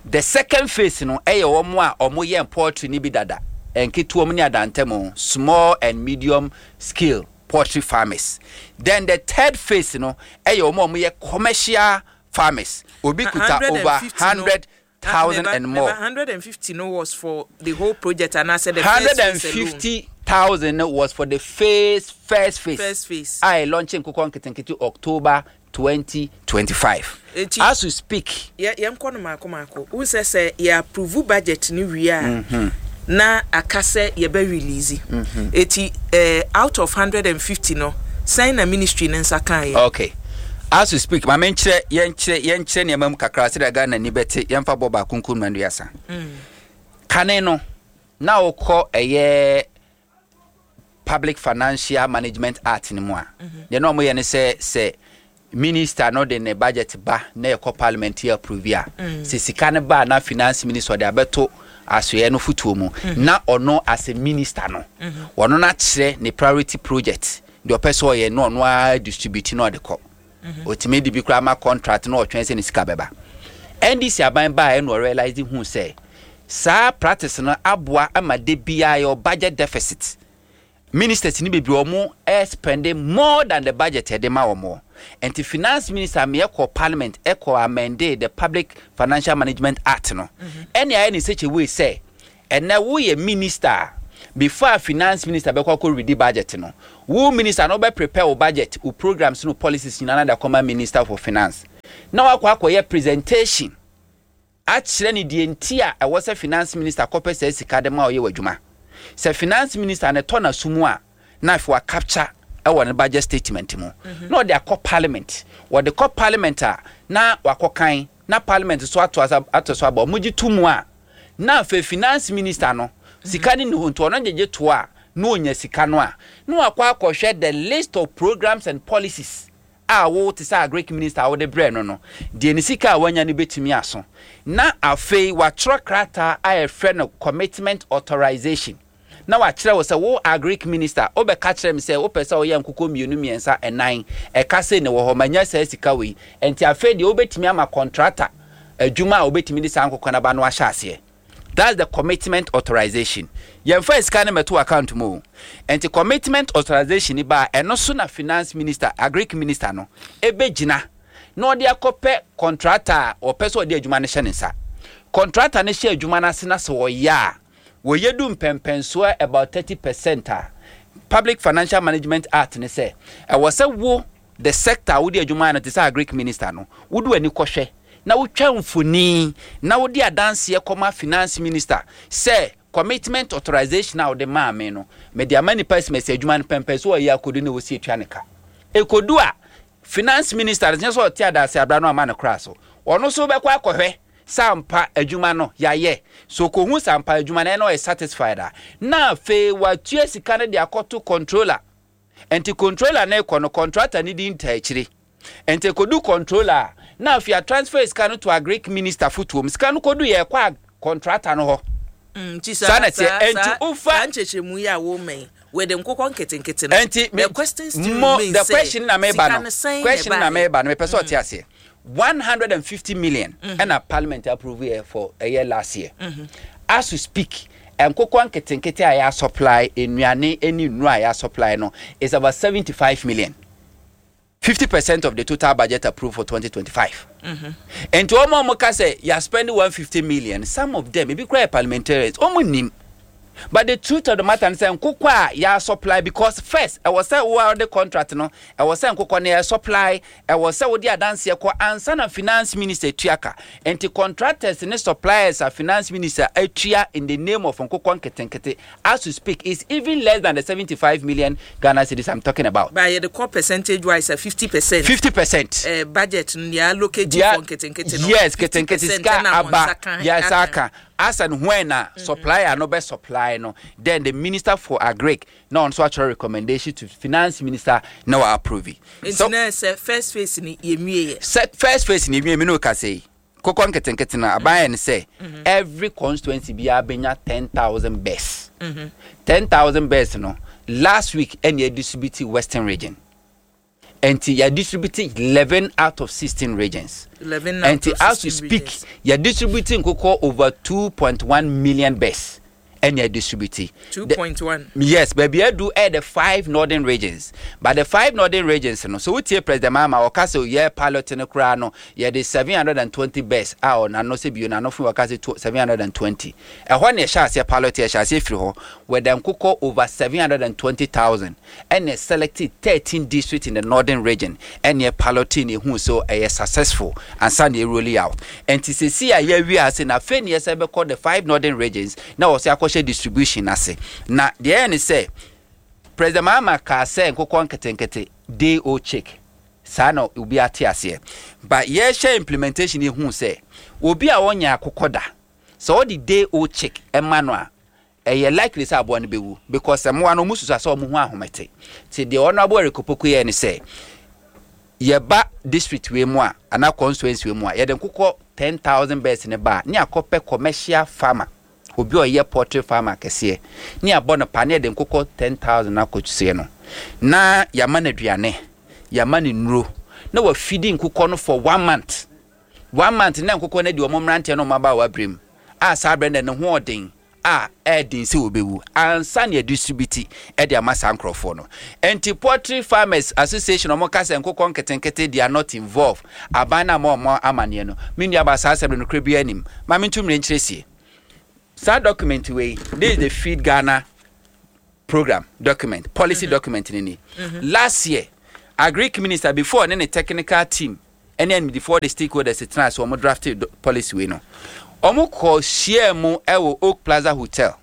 The second phase no ɛyɛ wɔn a wɔn yɛ poultry ni bi dada, nketewa mu ne adantam, small and medium scale poultry farmers. Then the third phase no ɛyɛ wɔn a wɔn yɛ commercial farmers, obi kuta over hundred thousand and more. Hundred and fifty no was for the whole project and I said the hundred and fifty thousand was for the phase first phase. First phase. A launching nkokɔ nketenkete October twenty twenty five. As we speak. Yɛ yɛn kɔ no maako maako n sɛ sɛ yɛ approve budget ni wie a, na aka sɛ yɛbɛ release. Eti uh, out of hundred and fifty no, sɛn na ministry ne nsa kan yɛ? Okay, as we speak, maame, nkyerɛ yɛnkyerɛ yɛnkyerɛ nneɛma mu kakra sɛdeɛ Ghana ni bɛte. Yɛmfa bɔ baako nko nua nduasa. Kane no na wokɔ ɛyɛ Public Financial Management Act no mu a, deɛ na ɔmoyɛ ne sɛ sɛ minister no de ne budget ba na yɛkɔ parliament yɛ approve a, sɛ sika no ba na finance minister ɔde abɛto asoɛ no fotuo mu, na ɔno as a minister no, ɔno no akyerɛ ne priority project deɛ ɔpɛ sɛ ɔyɛ, na ɔno ara distribute na ɔde kɔ. Otumi de bi koraa ma contract na ɔtwɛn sɛ ne sika bɛba. N D C aban baa, ɛna ɔrealise hu sɛ saa practice no aboa ama de biara yɛ budget deficit. Ministers ni bebree wɔn spending more than the budget ɛde ma wɔn. Nti finance minister mi ɛkɔ parliament ɛkɔ amend the Public Financial Management Act no, ɛne ayɛ ne such a way sɛ ɛnɛ woyɛ minister, before finance minister bɛkɔ akɔ read budget no, wo minister no bɛ prepare wo budget, wo programs no, policies nyinaa na de akɔma Minister for Finance, na wakɔ akɔyɛ presentation akyerɛ ne deɛ nti a ɛwɔ sɛ finance minister kɔpɛ sɛ sika de ma ɔyɛ w'adwuma. Sɛ finance minister ne tɔ n'aso mu a, na afei wa capture ɛwɔ ne budget statement mu na ɔde akɔ parliament. Wɔde kɔ parliament a, na wakɔ kan na parliament so ato asa ato so aba. Ɔmo gye to mu a, Na afei Finance Minister no, sika ne ne ho nti ɔno gyegye to a na onya sika no a, na wakɔ akɔhwɛ the list of programs and policies a wo te sɛ Agric Minister a wode brɛ no no deɛ, ne sika a wanya no bɛtumi aso. Na afei watwerɛ krataa a yɛfrɛ no commitment authorization, na wakyerɛ wo sɛ wo Agric Minister, wobɛka kyerɛ me sɛ wopɛ sɛ woyɛ nkokɔ mmienu, mmiɛnsa, ɛnan, ɛka sei ne wɔ hɔ, manya saa sika wei, nti afei deɛ wobɛtumi ama contractor adwuma a wobɛtumi de saa nkokɔ no aba no ahyɛ aseɛ. That's the commitment authorization. Yɛmfa sika no mɛto account mu o. Nti commitment authorization ni ba a, ɛno so na Finance Minister, Agric Minister no ɛbɛgyina na ɔde akɔpɛ contractor a ɔpɛ sɛ ɔde adwuma no hyɛ ne nsa. Contractor no hyɛ adwuma no ase na sɛ ɔyɛ a, wɔyɛ du mpɛmpɛnsoɔ about thirty percent a, Public Financial Management Act ne sɛ ɛwɔ sɛ wo, the sector a wode adwuma no te sɛ Agric Minister no, wode w'ani kɔhwɛ na wotwa mfoni na wode adanseɛ kɔma Finance Minister sɛ commitment authorization a wode maa me no, mede ama nipa simasi adwuma no pɛmpɛ so ɔyɛ akɔdu na wɔsi atua ne ka. Ɛkɔdu a, Finance Minister no nyɛ sɛ ɔte adase abra no ama no koraa so, ɔno nso bɛkɔ akɔhwɛ sɛ ampa adwuma no yɛayɛ so. Kɔhu sɛ ampa adwuma no ɛna ɔyɛ satisfied a, na afei watua sika no de akɔto controller. Nti controller no kɔ no, contractor no di nta akyire, nti kɔdu controller a, na afei a transfer sika no to Agric Minister fotoom. Sika no kɔdu yɛ kɔ a contractor no hɔ. Nti saa na teɛ. Nti wofa saa nkyerɛkyerɛmu yi a wɔma yi wɔde nkokɔ nketenkete no, nti the question still mo remains the sɛ, question na meba sika no no sɛn na question na ɛbaeɛ? Meba no, mepɛ sɛ ɔte aseɛ. one hundred and fifty million ɛna Parliament approve yɛ for ɛyɛ last year. As we speak, nkokɔ nketenkete a yɛ supply, nnuane ne nnuro a yɛ supply no is about seventy-five million, fifty percent of the total budget approved for twenty twenty-five. Nti wɔn a wɔn ka sɛ yɛ spend one hundred fifty million, some of them ebi kura yɛ parliamentarians, wɔn nim. But the truth of the matter is sɛ nkokɔ a yɛ supply, because first ɛwɔ sɛ wo a wɔde contract no, ɛwɔ sɛ nkokɔ no yɛ supply, ɛwɔ sɛ wode adanseɛ kɔ ansa na Finance Minister tua ka. Nti contractors ne suppliers a Finance Minister atua in the name of nkokɔ nketenkete, as we speak, is even less than the seventy-five million Ghana cedis I'm talking about. Ba yɛde kɔ percentage wise a, fifty percent. fifty percent. Eh, budget no deɛ allocate Deɛ- for nketenkete no, yes, ketenkete fifty percent sika ɛna wɔn aba nsa ka- yes, aka. Aka as and when na supplier no bɛ supply no, then the Minister for Agric na ɔno nso atwerɛ recommendation to Finance Minister na wa approve it. Nti So na sɛ first phase ni yɛnwie yɛ? Sɛ first phase ni ewie mi n'o ka sɛ yi kokɔ nketenkete no, aban yɛ no sɛ every constituency biara bɛnya ten thousand birds. Ten thousand birds no, last week ɛna yɛ distribute Western Region, nti yɛ distribute eleven out of sixteen regions. eleven out Nti of as we sixteen speak, regions. Yɛ distribute nkokɔ over two point one million birds ɛna yɛ distribute. The- two point one. Yes, baabi adu ɛyɛ the five northern regions, but the five northern regions no so, wotie President Mahama, ɔka sɛ yɛ pilot no koraa no, yɛde seven hundred and twenty birds a ɔnano sɛ bio n'ano fo, ɔka sɛ seven hundred and twenty. Ɛhɔ na yɛhyɛ aseɛ pilot, yɛhyɛ aseɛ firi hɔ wɔde nkokɔ over seven hundred and twenty thousand ɛna selected thirteen districts in the Northern Region ɛna yɛ piloting ehu so ɛyɛ successful ansa na yɛ rolling out. Nti sisi a yɛawie ase na afei na yɛsɛ bɛkɔ the five northern regions na wɔsɛ akɔhyɛ distribution ase. Na deɛ ɛyɛ ne sɛ President Mahama kaa sɛ nkokɔ nketenkete, day old chick, saa na obi ate aseɛ, but yɛhyɛ implementation, ehu sɛ obi a ɔnyɛ akokɔ da, sɛ ɔde day old chick ɛma no a, ɛyɛ likely sɛ aboa no bɛwu, because mmoa no ɔmo susu sɛ ɔmo ho ahomete. Te deɛ ɔno aboa rekopoko yɛ ne sɛ yɛba district wei mu a anaa constituency wei mu a, yɛde nkokɔ ten thousand birds ne ba a, ne akɔpɛ commercial farmer, obi a ɔyɛ poultry farmer kɛseɛ, ne abɔ no pa ne yɛde nkokɔ ten thousand akɔsie no, na yɛama no aduane, yɛama no nnuro, na wafidi nkokɔ no for one month. One month na nkokɔ no de ɔmo mmeranteɛ no ɔmo aba a wabere mu a, saa abere no ne ho ɔden a ɛɛden sɛ wɔbɛwu ansa na yɛdistribute ɛde ama saa nkurɔfoɔ no. Nti Poultry Farmers Association, ɔmo ka sɛ nkokɔ nketenkete, they are not involved. Aban no ama ɔmo amanneɛ no, me nua ba, saa asɛm no nokorɛ bi anim ma me nto mmerɛ nkyerɛ sie saa document wei. This is the Feed Ghana Program document, policy mm -hmm. document ni ni mm -hmm. Last year, Agric Minister before ne ne technical team ɛne animdifoɔ de stakeholders tena ase, wɔn drafted policy wei no, wɔn kɔ hyia mu ɛwɔ Oak Plaza Hotel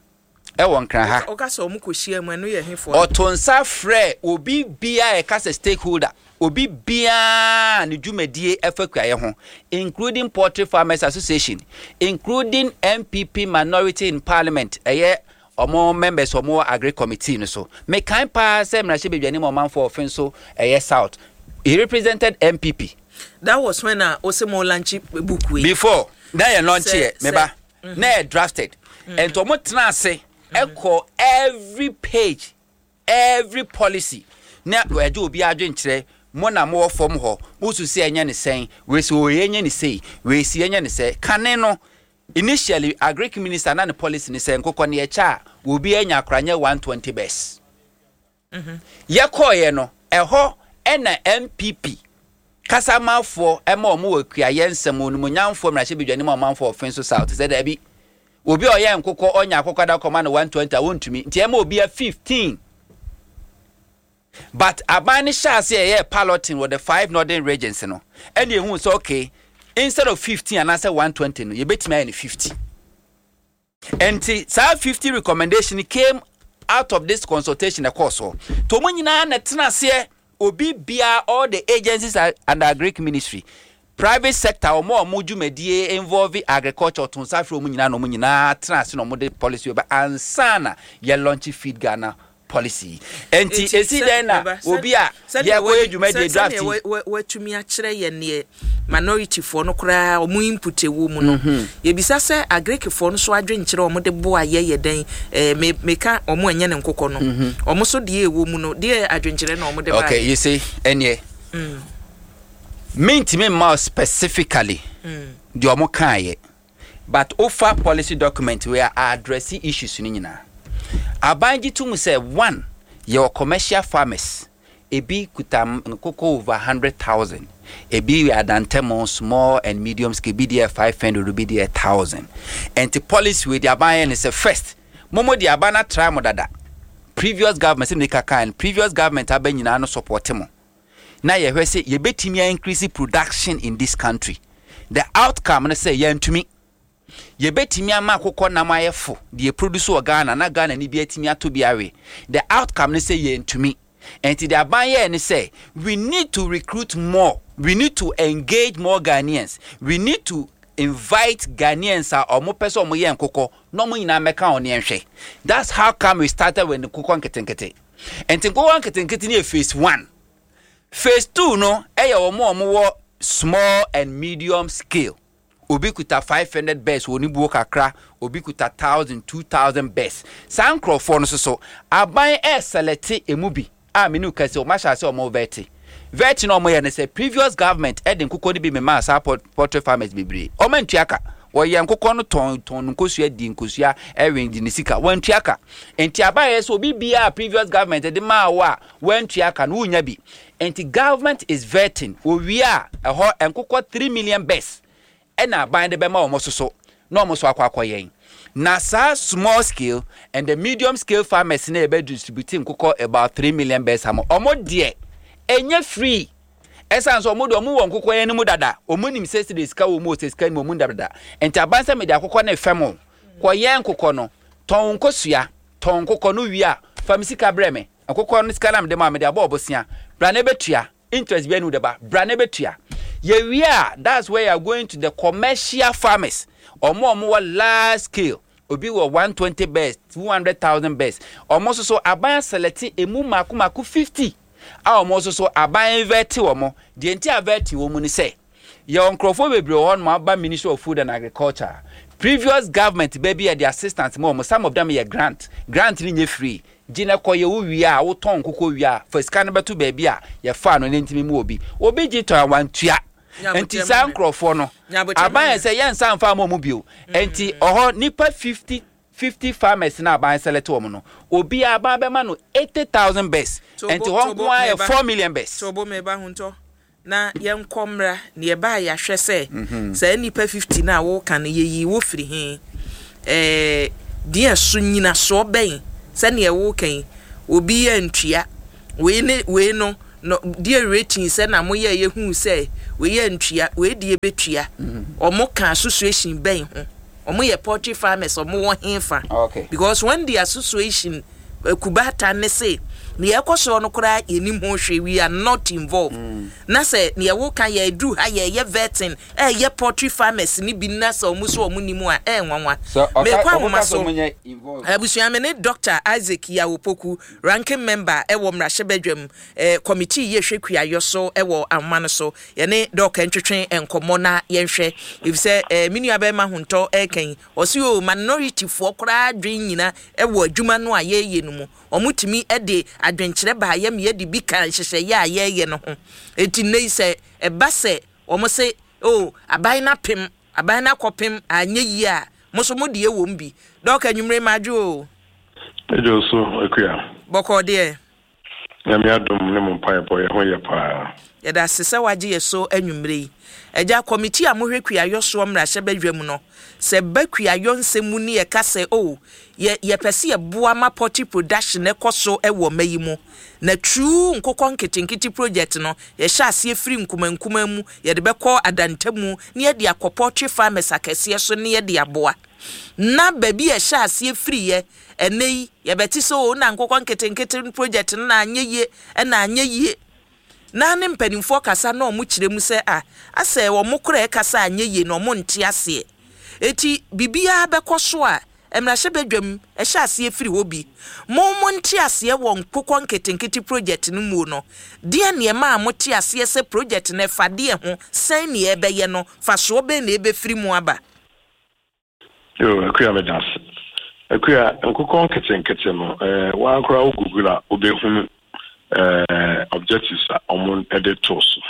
ɛwɔ Nkran ha. Ɔka sɛ ɔmo kɔ hyia mu, ɛno yɛ hefoɔ? Ɔto nsa frɛ obi bia a ɛka sɛ stakeholder. Obi biara ne dwumadie ɛfa kuayɛ ho, including Poultry Farmers Association, including N P P minority in parliament, ɛyɛ ɔmo members, ɔmo wɔ agri committee no so. Mekan paa sɛ mmarahyɛ badwani ma ɔmanfoɔ ɔfe nso ɛyɛ South, he represented N P P. That was when a ose mo launch book wei. Before na yɛ launch yɛ, meba na yɛ drafted, ɛnti ɔmo tena ase ɛkɔ every page, every policy, na ɛgye obi adwenkyerɛ. Mo na mowɔ fam hɔ, mo so sɛ ɛnyɛ ne sɛn, wei si oyɛ nyɛ ne sei, wei si ɛnyɛ ne sɛ. Kane no, initially agric minister na ne policy ne sɛ nkokɔ ne yɛkyɛ a, obi anya akoranyɛ one twenty birds. Yɛkɔɔyɛ no, ɛhɔ ɛna N P P kasamafoɔ ɛma ɔmo wɔ kuayɛ nsɛm onimonyamfoɔ mmarahyɛbadwani ma ɔmanfoɔ ɔfe nso South sɛ daabi, obi a ɔyɛ nkokɔ ɔnya akokɔ da kɔma no one twenty a, wɔntumi, nti ɛma obi a fifteen. But aban no hyɛ ase ɛyɛ piloting wɔ the five northern regions no, ɛna ehu sɛ okay, instead of fifteen anaasɛ one twenty no, yɛbɛtumi ayɛ no fifty. Nti saa fifty recommendation came out of this consultation. Ɛkɔɔ so to ɔmo nyinaa na tena aseɛ, obi biara, all the agencies under agric ministry, private sector, ɔmo a ɔmo dwumadie involve agriculture, ɔto nsa afiri ɔmo nyinaa na ɔmo nyinaa tena ase na ɔmo de policy ba ansa na yɛ launch Feed Ghana policy. Nti esi dɛn na obi a yɛkɔyɛ dwumadie draft yi? Watumi akyerɛ yɛ neɛ minority foɔ no koraa ɔmo input ɛwɔ mu no, mhm. yɛbisa sɛ agricfoɔ no so adwenkyerɛ ɔmo de boa yɛ yɛ dɛn? ɛɛ me meka ɔmo ɛnyɛ ne nkokɔ no, mhm. ɔmo so deɛ ɛwɔ mu no, deɛ adwenkyerɛ na ɔmo de ba? Okay, you see, ɛneɛ mm. mintimi mma specifically mm. deɛ ɔmo kaayɛ, but ofa policy document wei a address issues no nyinaa. Aban gye tom sɛ one, yɛwɔ commercial farmers, ebi kuta nkoko over hundred thousand, ebi yɛ adantɛmo small and medium scale, ebi deɛ five hundred, ebi deɛ thousand. Nti policy wei de aban yɛ ne sɛ first, momo de aban atra mo dada, previous government sɛ meka kan, previous government aba nyinaa no support mo na yɛhwɛ sɛ yɛbɛtumi increase production in this country. The outcome no sɛ yɛntumi, yɛbɛtumi ama akokɔ nam ayɛ fo deɛ produce wɔ Ghana na Ghana ni bi atumi ato bi awe. The outcome no sɛ yɛntumi. Nti the aban yɛ ne sɛ we need to recruit more, we need to engage more Ghanaians, we need to invite Ghanaians a ɔmo pɛ sɛ ɔmo yɛ nkokɔ na ɔmo nyinaa mɛka ɔno yɛnhwɛ. That's how come we started with nkokɔ nketenkete. Nti nkokɔ nketenkete no yɛ phase one. Phase two no ɛyɛ ɔmo a ɔmo wɔ small and medium scale. Obi kuta five hundred birds wɔ ne buo kakra, obi kuta thousand, two thousand birds. Saa nkurɔfoɔ no soso, aban ɛɛselect emu bi a mene kɛse ɔmo ahyɛ ase ɔmo vet vet na ɔmo yɛ no sɛ previous government ɛde nkokɔ no bi mema saa poultry farmers bebree, ɔmo ntua ka. Wɔyɛ nkokɔ no tɔn tɔn nkosua, di nkosua, ɛwɛn di ne sika, wɔntua ka. Nti aban yɛ sɛ obi biara previous government ɛde maa wo a wɔntua ka no, wunya bi. Nti government is vetting. Owie a, ɛhɔ nkokɔ three million birds ɛna aban de bɛma wɔn soso na wɔn so akɔ akɔ yɛn. Na saa small scale and the medium scale farmers na yɛbɛ distribute nkokɔ about three million birds ama wɔn deɛ, ɛnyɛ free, ɛsan so ɔmo de ɔmo wɔ nkokɔ yɛn no mu dada, ɔmo nim sɛ sɛ sika wɔ mu o, sɛ sika nim ɔmo dada. Nti aban sɛ mede akokɔ ne fɛm o, kɔ yɛn nkokɔ no, tɔn nkosua, tɔn nkokɔ no wie a, fa mi sika brɛ me. Nkokɔ no sika na mede ma, mede abɔ ɔbosia bra na ebetua interest bi ɛnu de ba bra na ebetua. Yɛwie a, that's where you are going to the commercial farmers, ɔmo ɔmo wɔ large scale, obi wɔ one twenty birds, two hundred thousand birds. Ɔmo nso so aban select emu mako mako fifty a ɔmo nso so aban vet wɔn. Deɛ nti a vet wɔn mu ni sɛ yɛwɔ nkurɔfoɔ bebree wɔ hɔ nom aba Ministry of Food and Agriculture, previous government baabi yɛ de assistance mu wɔn. Some of them yɛ grant. Grant ni nye free. Gye na kɔ yɛ wo wie a, wotɔn nkokɔ wie a, fa sika no bɛto baabi a yɛfa no ne ntumi mu. Obi obi gye tɔn a wantua, nti saa nkurɔfoɔ no, aban yɛ sɛ yɛnsa nfa ama ɔmo bio. Nti ɔhɔ nipa fifty fifty farmers na aban select wɔn no, obi aban bɛma no eighty thousand birds. Nti hɔ nko ara yɛ four million birds. Tobo, meba ho ntɔ na yɛnkɔ mmra na yɛbaa yɛahwɛ sɛ mhm. saa nipa fifty no a wɔka no, yɛyi wo firi he? ɛɛ deɛ so nyinasoɔ bɛn sɛnea wɔka yi, obi yɛ ntua wei ne wei no no deɛ rating sɛ na moyɛ yɛhu sɛ wei yɛ ntua, wei deɛ bɛtua? Mhm. Ɔmo ka association bɛn ho? Ɔmo yɛ poultry farmers, ɔmo wɔ he fa? Okay. Because when the association kubata ne se Nea ɛkɔ soɔ no koraa yɛnim ho hwee, we are not involved. Na sɛ nea woka yɛduru ha, yɛyɛ vetting, ɛyɛ poultry farmers ni bi, na sɛ ɔmo so ɔmo nim a, ɛyɛ nwanwa. Mekɔ ahoma so. Abusua, me ne Doctor Isaac Yaw Opoku, ranking member ɛwɔ mmarahyɛbadwam eh, committee yɛ hwɛ kuayɔ so ɛwɔ ahoma no so. Yɛne Doc ntwetwe nkɔmmɔ na yɛnhwɛ, efisɛ eh, me nua bɛrima Hontɔ ɛɛkan ɔsi o minority foɔ koraa adwen nyina ɛwɔ adwuma no a yɛreyɛ no mu. Wɔn tumi de adwenkyerɛ baayɛ ma yɛde bi ka nhyehyɛeɛ a yɛreyɛ no ho. Eti nne yi sɛ ɛba sɛ wɔn se o aban no apem, aban no akɔpem anyɛ yie a, mo nso mo deɛ wɔ mu bi. Doc, anwummere madwo o. Ɛgye so, Akua. Bɔkɔɔ deɛ? Nyame adom ne mo mpaebɔ, yɛ ho yɛ paa. Yɛda ase sɛ wagye yɛ so anwummere yi. Agya, committee a mohwɛ kuayɔ soɔ mmarahyɛbadwa mu no, sɛ ba kuayɔ nsɛm mu ne yɛka sɛ o yɛ yɛpɛ sɛ yɛboa ma poultry production ɛkɔ so ɛwɔ mma yi mu, na true nkokɔ nketenkete project no, yɛhyɛ aseɛ firi nkumankuma mu, yɛde bɛkɔ adantamu ne yɛde akɔ poultry farmers akɛseɛ so ne yɛde aboa, na baabi a ɛhyɛ aseɛ firiɛ, ɛnɛ yi yɛbɛte sɛ o na nkokɔ nketenkete project no na anyɛ yie, ɛna anyɛ yie, na ne mpanimfoɔ kasa na ɔmo kyerɛ mu sɛ a asɛ ɔmo kora ɛkasa anyɛ yie na ɔmo nte aseɛ. Eti biribiara bɛkɔ so a, mmarahyɛbadwam ɛhyɛ aseɛ firi hɔ bi. Mo mo nte aseɛ wɔ nkokɔ nketenkete project no mu no deɛ, nneɛma a mote aseɛ sɛ project no ɛfa deɛ ho sɛn nea ɛbɛyɛ no, fasoɔ bɛn na ɛbɛfiri mu aba? Yo, Akua, meda ase. Akua, nkokɔ nketenkete no, ɛɛ wankora wo Google a, wobɛhunu ɛɛ objectives a ɔmo de to so.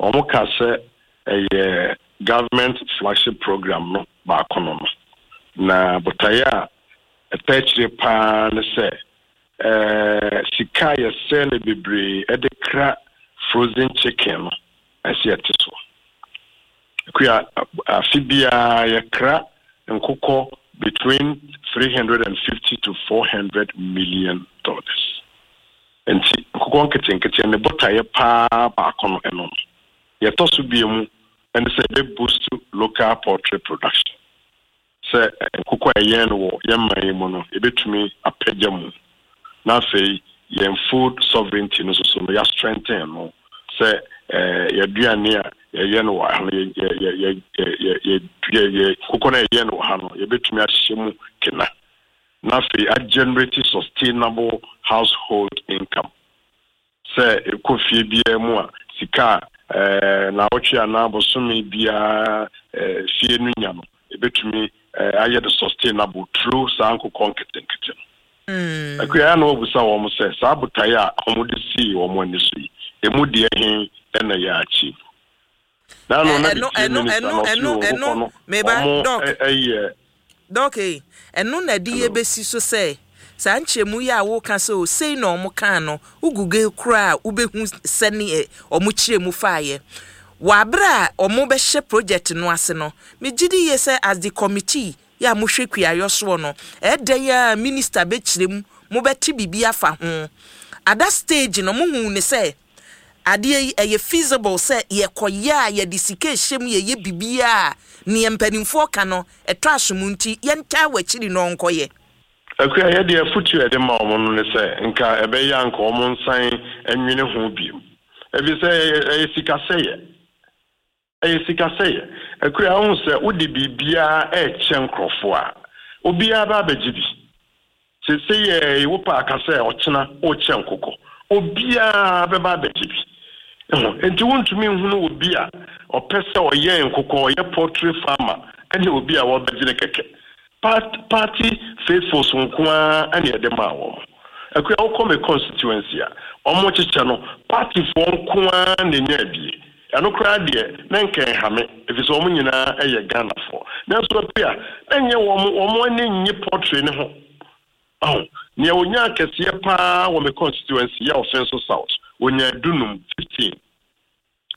Ɔmo ka sɛ ɛyɛ government flagship program no baako no no na botaeɛ a ɛtɛ akyire paa ne sɛ ɛɛ sika a yɛsɛ no bebree ɛde kra frozen chicken no, ɛsɛ yɛte so. Akua, afe biara yɛkra nkokɔ between three hundred and fifty to four hundred million dollars. Nti nkokɔ nketenkete ne botaeɛ paa baako no, ɛno no yɛtɔ so bie mu ɛne sɛ ɛbɛ boost local poultry production, sɛ nkokɔ a ɛyɛn no wɔ yɛn man yi mu no, yɛbɛtumi apagya mu, na afei yɛn food sovereignty no nso so no, yɛa strengthen no, sɛ ɛɛ yɛaduane a yɛyɛ no wɔ ha no, yɛ yɛ yɛ yɛ yɛ yɛ yɛ nkokɔ no a yɛyɛ no wɔ ha no, yɛbɛtumi ahyɛ mu kena, na afei a generate sustainable household income, sɛ ɛkɔ fie biara mu a, sika a ɛɛ naawɔtwe anaa bosome biara ɛɛ fie no nya no, ebɛtumi ɛɛ ayɛ de sustainable through saa nkokɔ nketenkete no. Akua, ya na wɔbusa wɔn sɛ saa botaeɛ a wɔde sii wɔn ani so yi, emu deɛ he ɛna yɛ achieve? Na no na ɛno de tie ɛno minister na ɛno ɔsi ɛno wɔ ɛno nkokɔ no meba wɔn Doc. ɛyɛ Doc, ɛno na de Hello. yɛbɛsi so sɛ saa nkyerɛmu yi a woka sɛ o sei na ɔmo kaa no, wo Google koraa a, wobɛhu sɛneɛ ɔmo kyerɛ mu faayɛ wɔ abere a ɔmo bɛhyɛ project no ase no. Megye di yie sɛ as the committee yɛ a mohwɛ kuayɔ soɔ no, ɛdɛn a minister bɛkyerɛ mu, mobɛte biribi afa ho. At that stage no, mohu ne sɛ adeɛ yi ɛyɛ feasible sɛ yɛkɔyɛ a yɛde sika ɛhyɛ mu, yɛyɛ biribiaa a neɛ mpanimfoɔ ka no ɛtɔ aso mu, nti yɛntaa w'akyiri no ɔnkɔyɛ? Akua, yɛde afotu a yɛde ma wɔn no ne sɛ nka ɛbɛyɛ a nka wɔn nsan nwene ho bio, ebi sɛ ɛyɛ ɛyɛ sikasɛyɛ, ɛyɛ sikasɛyɛ. Akua, ahu sɛ wode biribiara ɛɛkyɛ nkurɔfoɔ a, obiara ba abɛgye bi. Sese yɛ wopɛ aka sɛ ɔkyena wokyɛ nkokɔ, obiara bɛba abɛgye bi. Ɛho nti wontumi nhunu obi a ɔpɛ sɛ ɔyɛ nkokɔ, ɔyɛ poultry farmer, ɛne obi a wɔbɛgye ne kɛkɛ. Part- party faithfuls nko ara ɛne ɛde maa wɔn. Akua, wokɔ me constituency a, ɔmo kyekyɛ no, partyfoɔ nko ara na enya abie. Ɛno koraa deɛ na nka ɛha me, ɛfiri sɛ wɔn nyinaa ɛyɛ Ghanafoɔ. Nanso Akua, na nyɛ wɔn wɔn ani nye poultry ne ho. Ɔho nea onya kɛseɛ paa wɔ me constituency yɛ Ɔfɛnso South, onya dunum, fifteen.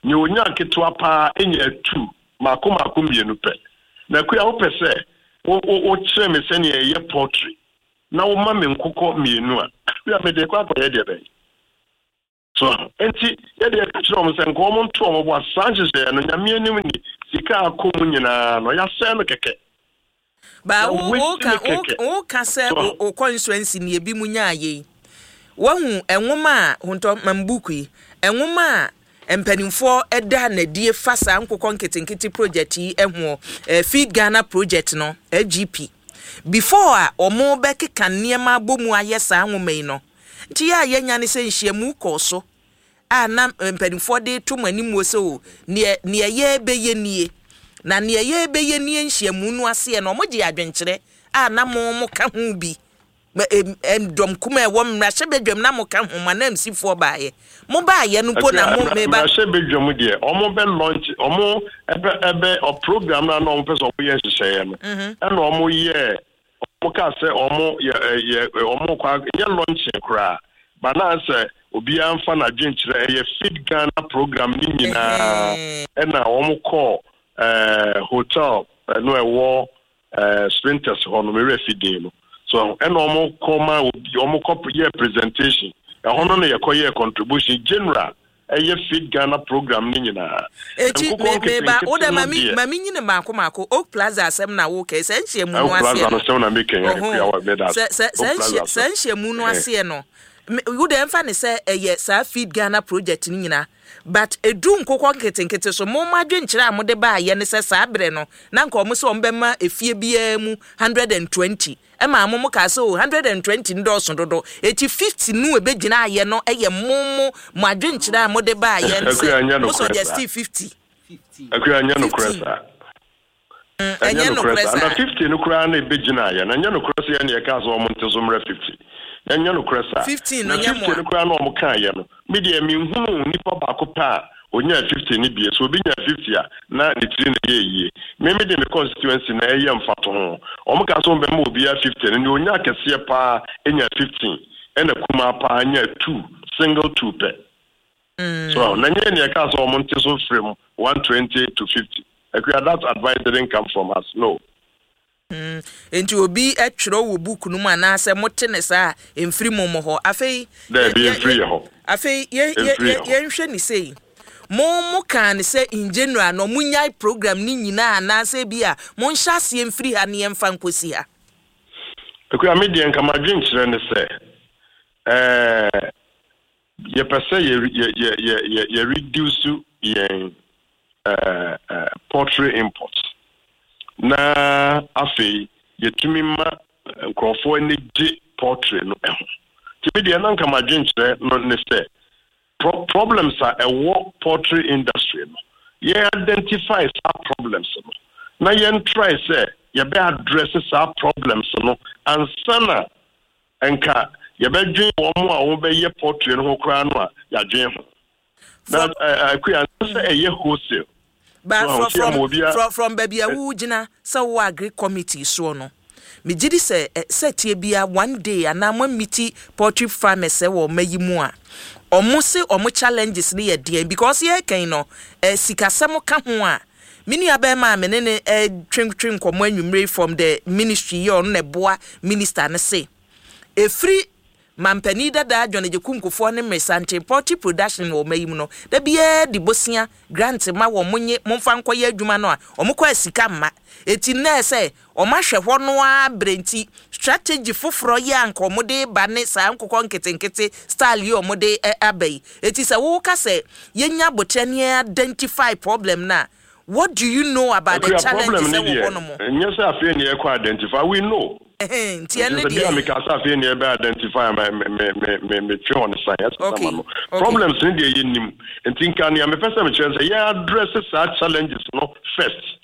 Nea onya ketewa paa enya two, mako mako mmienu pɛ. Na Akua, wopɛ sɛ wo wo wokyerɛ me sɛnea ɛyɛ poultry na woma me nkokɔ mmienu a, Akua, mede kɔ akɔyɛ deɛ bɛn so? Nti yɛde yɛka kyerɛ wɔn sɛ nka wɔn nto wɔn bo ase. Saa nhyehyɛeɛ no, Nyame anim ni, sika akɔ mu nyinaa no, yɛasɛe no kɛkɛ. Ba Na wo waste woka ne kɛkɛ. Woka sɛ So- wo wo constituency ne ebi mu nyaa yei, Wahu nwoma a hontɔ mambuku yi, nwoma a mpanimfoɔ ɛda n'adie fa saa nkokɔ nketenkete project yi ho, eh, Feed Ghana Project no, F G P, before a wɔn bɛkeka nneɛma abɔ mu ayɛ saa nwoma yi no. Nti yɛ a yɛnya ne sɛ nhyiamu kɔɔ so a na mpanimfoɔ de to mo anim wɔ sɛ o, neɛ neɛ yɛbɛyɛ nie na neɛ yɛbɛyɛ nie. Nhyiamu no aseɛ no, wɔn gye adwenkyerɛ a na mo mo ka ho bi. Dɔm kuma ɛwɔ mmarahyɛbadwam na mo ka ho ma na msifoɔ baayɛ, mo baayɛ no mpo na mo meba. Mmarahyɛbadwam deɛ, ɔmo bɛ launch, ɔmo ɛbɛ ɛbɛ ɔ program na na ɔmo pɛ sɛ ɔmo yɛ nhyehyɛeɛ no, mhm. ɛna ɔmo yɛ, ɔmo kaa sɛ ɔmo yɛ yɛ ɔmo kɔ nyɛ launching koraa ba na sɛ obiara nfa n'adwenkyerɛ. Ɛyɛ Feed Ghana Program ne nyinaa, ɛna ɔmo kɔɔ ɛɛ hotel ɛno ɛwɔ ɛɛ Spintex hɔ no, mewura fi din no so, ɛna ɔmo kɔ ma obi, ɔmo kɔ yɛ presentation ɛhɔ no, na yɛkɔ yɛ contribution general, ɛyɛ Feed Ghana Program ne nyinaa. Eti me meba wo dɛ, mami mami nyine maako maako. Oak Plaza asɛm na wo kɛ sɛ nhyiamu no aseɛ no, asɛm na meka yɛ. Sɛ sɛ sɛ nhyiamu no aseɛ no, wo dɛ mfa ne sɛ ɛyɛ saa Feed Ghana Project no nyinaa, but edu nkokɔ nketenkete so, mo mo adwenkyerɛ a mo de baayɛ ne sɛ saa berɛ no na nka ɔmo sɛ ɔmo bɛma efie biara mu hundred and twenty, ɛma mo mo kaa sɛ o, hundred and twenty ndɔɔso dodo, eti fifty nu ebegyina ayɛ no. Ɛyɛ mo mo mo adwenkyerɛ a mo de baayɛ no sɛ mo suggest fifty. Akua, nyɛ nokorɛ saa. Ɛnyɛ nokorɛ saa. Na fifty no koraa na ebegyina ayɛ na ɛnyɛ nokorɛ sɛ yɛn yɛ kaa sɛ ɔmo nte so mmerɛ fifty. Ɛnyɛ nokorɛ saa. Fifteen no nyɛ mo. Fifty no koraa na ɔmo kaa yɛ no, mi deɛ mi nhunu nipa baako pɛ a onyaa fifty ne bie so. Obi nya fifty a, na ne tiri na ɛyɛ yie. Mímí de mi constituency na ɛyɛ mfato ho. Ɔmo kaa sɛ ɔmo bɛma obiara fifty no, nea onya akɛseɛ paa enya fifteen, ɛna kumaa paa nya two, single two pɛ so. Na nyɛ nea ɛka sɛ ɔmo nte so from one twenty to fifty. Akua, that advice didn't come from us, no. Mm. Nti obi twerɛ wɔ book no mu anaasɛ mote ne saa a, mfiri mo mo hɔ afei? Daabi, mfiri yɛ hɔ. Afei yɛnhwɛ ne sei, mo mo kaa ne sɛ in general na ɔmo nyae program ne nyinaa, anaasɛ bi a monhyɛ aseɛ mfiri ha ne yɛmfa nkɔsi ha? Akua, me deɛ nka madwenkyerɛ ne sɛ ɛɛ yɛpɛ sɛ yɛ yɛ yɛ yɛ yɛ yɛ reduce yɛn ɛɛ ɛɛ poultry import, na afei yɛtumi ma nkurɔfoɔ ani gye poultry no ho. Nti me deɛ na nka madwenkyerɛ no ne sɛ pro problems a ɛwɔ poultry industry no, yɛn identify saa problems no na yɛn try sɛ yɛbɛ address saa problems no ansa na nka yɛbɛdwen wɔn a wɔbɛyɛ poultry no ho koraa no a yɛadwen ho. Na Akua, sɛ ɛyɛ wholesale. But from from from from baabi a wogyina sɛ wo agri committee soɔ no, megye di sɛ sɛ tie bia one day anaa mo meet poultry farmers sɛ wɔ ɔma yi mu a, ɔmo se ɔmo challenges no yɛ deɛn? Because yɛkɛn no, eh, sikasɛm ka ho a me nua bɛrima a me ne ne twentwe nkɔmmɔ anwummere from the ministry yɛ, ɔno na ɛboa minister no, se efiri mampanin dada John Agyekum Kufuor ne mmeresanten, poultry production wɔ ɔma yi mu no, da biara di bosia grant ma wɔn, mo nye momfa nkɔyɛ adwuma no a wɔn kɔ asika mma. Eti nnɛ sɛ wɔn ahwɛ hɔ no ara bere, nti strategy foforɔ yɛ anka wɔn de ba ne saa nkokɔ nketenkete style yi wɔn de aba yi. Eti sɛ wɔka sɛ yɛnya abotire ne identify problem na, what do you know about the challenges ɛwɔ hɔ nom? Nyɛ sɛ afei ne yɛkɔ identify, we know. Nti ɛne deɛ bi a meka sɛ afei ne yɛbɛ identify, me me me me metwe hɔ ne san ɛsɛ sama no. Problems ne deɛ yɛnim, nti nka nea mepɛ sɛ mekyerɛ sɛ yɛ address saa challenges no first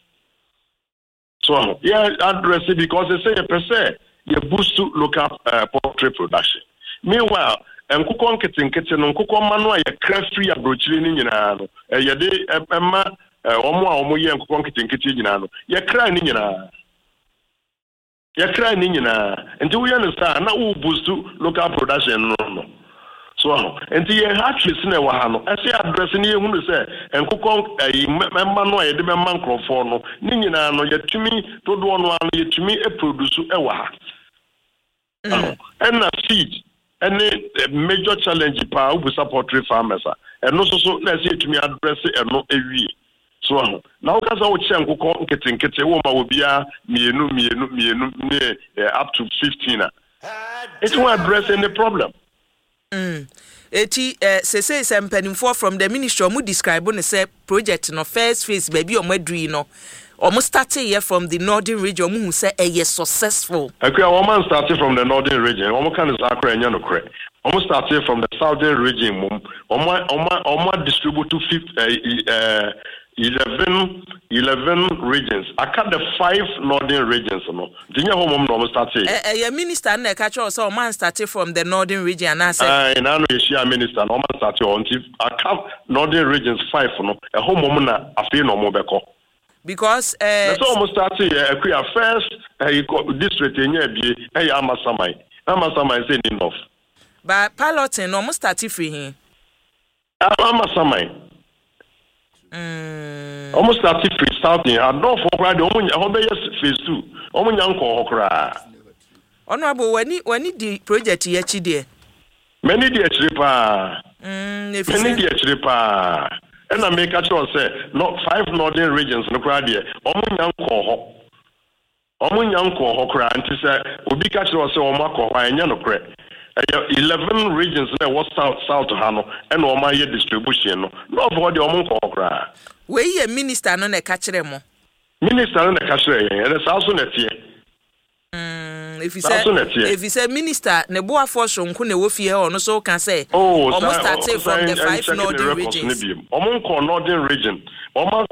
so yɛ address, because sɛ yɛpɛ sɛ yɛ boost local uh, poultry production. Meanwhile, nkokɔ nketenkete no, nkokɔ mma no a yɛkra firi aburokyire no nyinaa no, yɛde ɛma wɔn a wɔyɛ nkokɔ nketenkete nyinaa no, yɛkra ne nyinaa, yɛkra ne nyinaa. Nti woyɛ no saa na wo boost local production no no so ho. Nti yɛn hatcheries na ɛwɔ ha no, ɛsɛ address ne yɛhunu sɛ nkokɔ ɛyi mɛma no a yɛde bɛma nkurɔfoɔ no ne nyinaa no, yɛtumi dodoɔ no ara no yɛtumi produce ɛwɔ ha. Ɛna feed ɛne major challenge paa. Wobusa poultry farmers a, ɛno nso so na ɛsɛ yɛtumi address ɛno ewie so ho. Na woka sɛ wokyɛ nkokɔ nketenkete, wo ma obiara mmienu mmienu mmienu ne up to fifteen a, it won't address any problem. Mm. Eti eh, sese sɛ mpanimfoɔ from the ministry, ɔmo describe no sɛ project no first phase, baabi a ɔmo aduru yi no, ɔmo start yɛ from the Northern Region, ɔmo hu sɛ ɛyɛ successful. Akua, wɔn man start from the Northern Region, wɔn ka ne saa koraa, ɛnyɛ nokorɛ. Wɔn start from the Southern Region mom. Wɔn wɔn wɔn distribute to fifth ɛɛ ɛɛ eleven eleven regions, aka the five northern regions no, nti nyɛ hɔ mom na wɔn start yɛ. Ɛ ɛyɛ minister no na ɛka kyerɛ wo sɛ ɔmo an start from the Northern Region anaasɛ? Ɛɛ n'ano yɛhyia minister na wɔn start hɔ, nti aka northern regions five no, ɛhɔ mom na afei na wɔn bɛkɔ. Because Na ɛɛ sɛ wɔn start yɛ, Akua, first ɛyi kɔ district enya abie ɛyɛ Amasaman. Amasaman sɛ ni north. Ba piloting no, ɔmo start firi he? Amasaman. Mm. Wɔn start firi southern adɔfoɔ koraa deɛ, wɔn ɛhɔ bɛyɛ phase two, wɔn nya nkɔɔ hɔ koraa. Honourable, w'ani w'ani di project yi akyi deɛ? M'ani di akyire paa. Mm, efi M'ani sɛ di akyire paa, ɛna meka kyerɛ wo sɛ no five northern regions no koraa deɛ, wɔn nya nkɔɔ hɔ, wɔn nya nkɔɔ hɔ koraa. Nti sɛ obi ka kyerɛ wo sɛ wɔn akɔ hɔ a, ɛnyɛ nokorɛ. Ɛyɛ eleven regions na ɛwɔ south south ha no ɛna wɔn ayɛ distribution no. North hɔ deɛ, wɔn nkɔɔ hɔ koraa. Wei yɛ minister no na ɛka kyerɛ mo? Minister no na ɛka kyerɛ yɛn, ɛnɛ saa so na ɛteɛ. Mm, efi Saa sɛ so na ɛteɛ. Efi sɛ minister ne boafoɔ sonko na ɛwɔ fie hɔ, ɔno so ka sɛ Oh, ɔmo saa start from the five check the northern records ne regions. Biem, ɔmo nkɔ northern region, ɔmo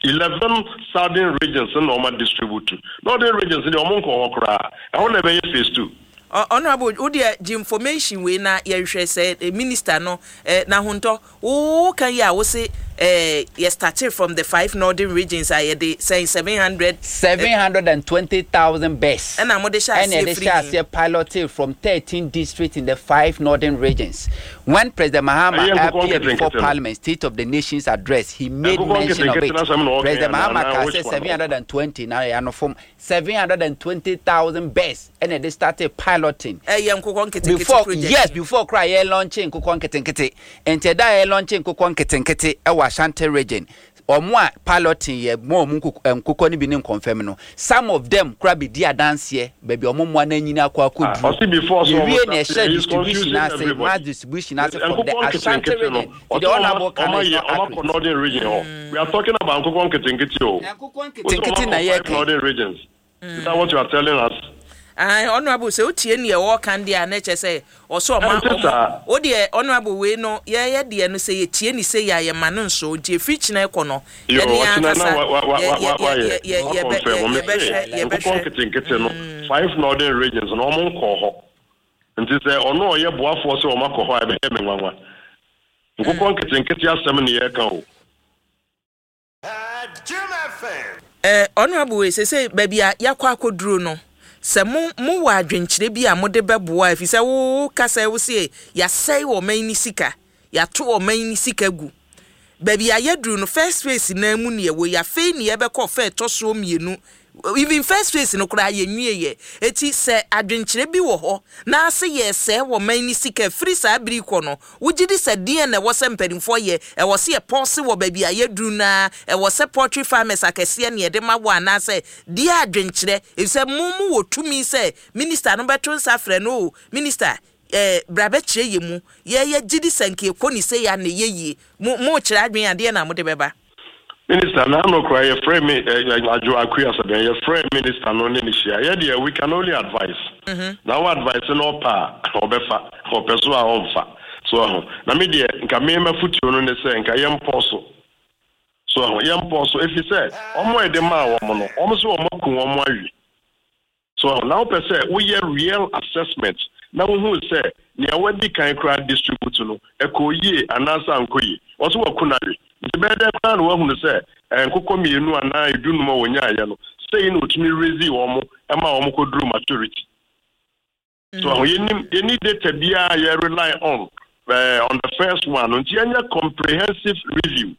eleven southern regions na ɔmo distribute. Northern regions deɛ, ɔmo nkɔ hɔ koraa, ɛhɔ na ɛbɛyɛ phase two. Ɔ- honourable wo deɛ, gye information wei na yɛhwɛ sɛ eh, minister no eh, n'ahontɔ wo ka yi a wo se eh, yɛ started from the five northern regions a yɛde sɛn seven hundred Seven hundred and twenty thousand birds. Ɛna mode hyɛ ɛna aseɛ yɛde firi hyɛ he? Aseɛ piloted from thirteen districts in the five northern regions. When President Mahama Ɛyɛ nkokɔ appeared before nketenkete no. Parliament, State of the Nation's address, he made Nkokɔ mention of nketenkete it. no asɛm na ɔka President yɛ Mahama anaa ka which sɛ one? seven hundred and twenty na yɛ ano fam seven hundred and twenty thousand birds ɛna yɛde started piloting. Ɛyɛ nkokɔ nketenkete Before project? Yes, before koraa yɛ launching nkokɔ nketenkete. Nti ɛda yɛ launching nkokɔ nketenkete ɛwɔ Ashanti Region, ɔmo a piloting yɛ mo ɔmo nkokɔ nkokɔ no bi ne nkɔnfɛm no, some of them koraa bi di adanseɛ baabi a ɔmo mmoa no anyini akɔ akɔduru. Ɔsi before so yɛwie ɔmo na ɛhyɛ start, he is distribution confusing ase, everybody. mass distribution ase from the Nkokɔ Ashanti nketenkete no, Region. Nti the honourable ɔsɛ kan ɔmo is ayɛ not ɔmo akɔ accurate. northern region hɔ. We are talking about nkokɔ nketenkete o. Nkokɔ Wosɛ ɔmo nketenkete na akɔ yɛ five kan. northern regions. Is that what you are telling us? Ah, honourable, sɛ wotie neɛ wɔɔka deɛ a, na kyerɛ sɛ ɔsɛ ɔma Ɛnte ɔmo saa. wo deɛ, honourable, wei no yɛyɛ deɛ no sɛ yɛtie ne sɛ yɛ a, yɛma no nso nti ɛfiri kyena kɔ no, Yo, yɛne yɛn ɔkyena na ankasa wa wa wa yɛ- wa yɛ- wa yɛ- yɛ yɛ- wa yɛbɛ- confirm yɛ- ɔmo yɛbɛhwɛ sɛ nkokɔ yɛbɛhwɛ nketenkete no, five northern regions no, ɔmo nkɔ hɔ. Nti sɛ ɔno a ɔyɛ boafoɔ sɛ ɔmo akɔ hɔ a, ɛbɛyɛ me nwanwa. Nkokɔ nketenkete asɛm ne yɛreka o. Eh, honourable, wei sɛ sɛ baabi a yɛakɔ akɔduro no, sɛ mo mowɔ adwenkyerɛ bi a mode bɛboa, ɛfiri sɛ wo kasa wo se yɛasɛe ɔman ni sika, yɛato ɔman ni sika gu. Baabi a yɛduru no, first phase nan mu ne yɛwɔ yi, afei ne yɛbɛkɔ fɛ ɛtɔ soɔ mmienu. Even first phase no koraa yɛnwie yɛ. Eti sɛ adwenkyerɛ bi wɔ hɔ na ase yɛsɛe wɔ man ni sika firi saa bere kɔ no, wogye di sɛ deɛ na ɛwɔ sɛ mpanimfoɔ yɛ, ɛwɔ sɛ yɛpɔse wɔ baabi a yɛduru naa, ɛwɔ sɛ poultry farmers akɛseɛ ne yɛde ma wɔ, anaasɛ deɛ adwenkyerɛ, efisɛ mo mo wɔ tumi sɛ minister no bɛto nsa frɛ no o, minister ɛɛ bra bɛkyerɛ yɛ mu, yɛyɛ gye di sɛ nka ekɔ ne sɛ yɛ a na ɛyɛ yie, mo mo kyerɛ adwene adeɛ na mo de bɛba? Minister n'ano koraa yɛfrɛ me ɛ adwo Akua sɛbɛn, yɛfrɛ minister no ne ne hyia. Yɛ deɛ, we can only advise. Na wo advice no, ɔpa a ɔbɛfa, ɔpɛ so a ɔmfa so ɛho. Na me deɛ, nka mema fotuo no ne sɛ nka yɛmpɔ so so ɛho, yɛmpɔ so, efi sɛ ɔmo a yɛde maa wɔn no, ɔmo so wɔn aku wɔn awie so ɛho. Na wopɛ sɛ woyɛ real assessment na wohu sɛ nea wadi kan koraa distribute no ɛkɔ yie anaasɛ ankɔ yie, wɔso waku no awe. Nti bɛyɛ dɛ koraa na woahunu sɛ eh, nkokɔ mmienu anaa edunum a wɔnyaayɛ no sɛyi na otumi raise wɔn ma wɔn kɔduru maturity so ɛho. Yɛnim yɛni data biara yɛ rely on uh, on the first one no, nti yɛnyɛ comprehensive review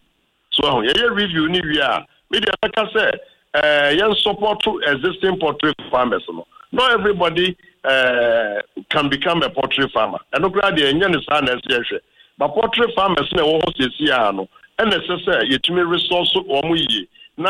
so ɛho. Yɛyɛ review ni wie a, me deɛ bɛka sɛ uh, yɛn support existing poultry farmers no. Not everybody uh, can become a poultry farmer. Ɛno koraa deɛ, ɛnyɛ ne saa na ɛsɛ yɛhwɛ, but poultry farmers na ɛwɔ hɔ siesie a no, ɛna ɛsɛ sɛ yɛtumi resource wɔn yie.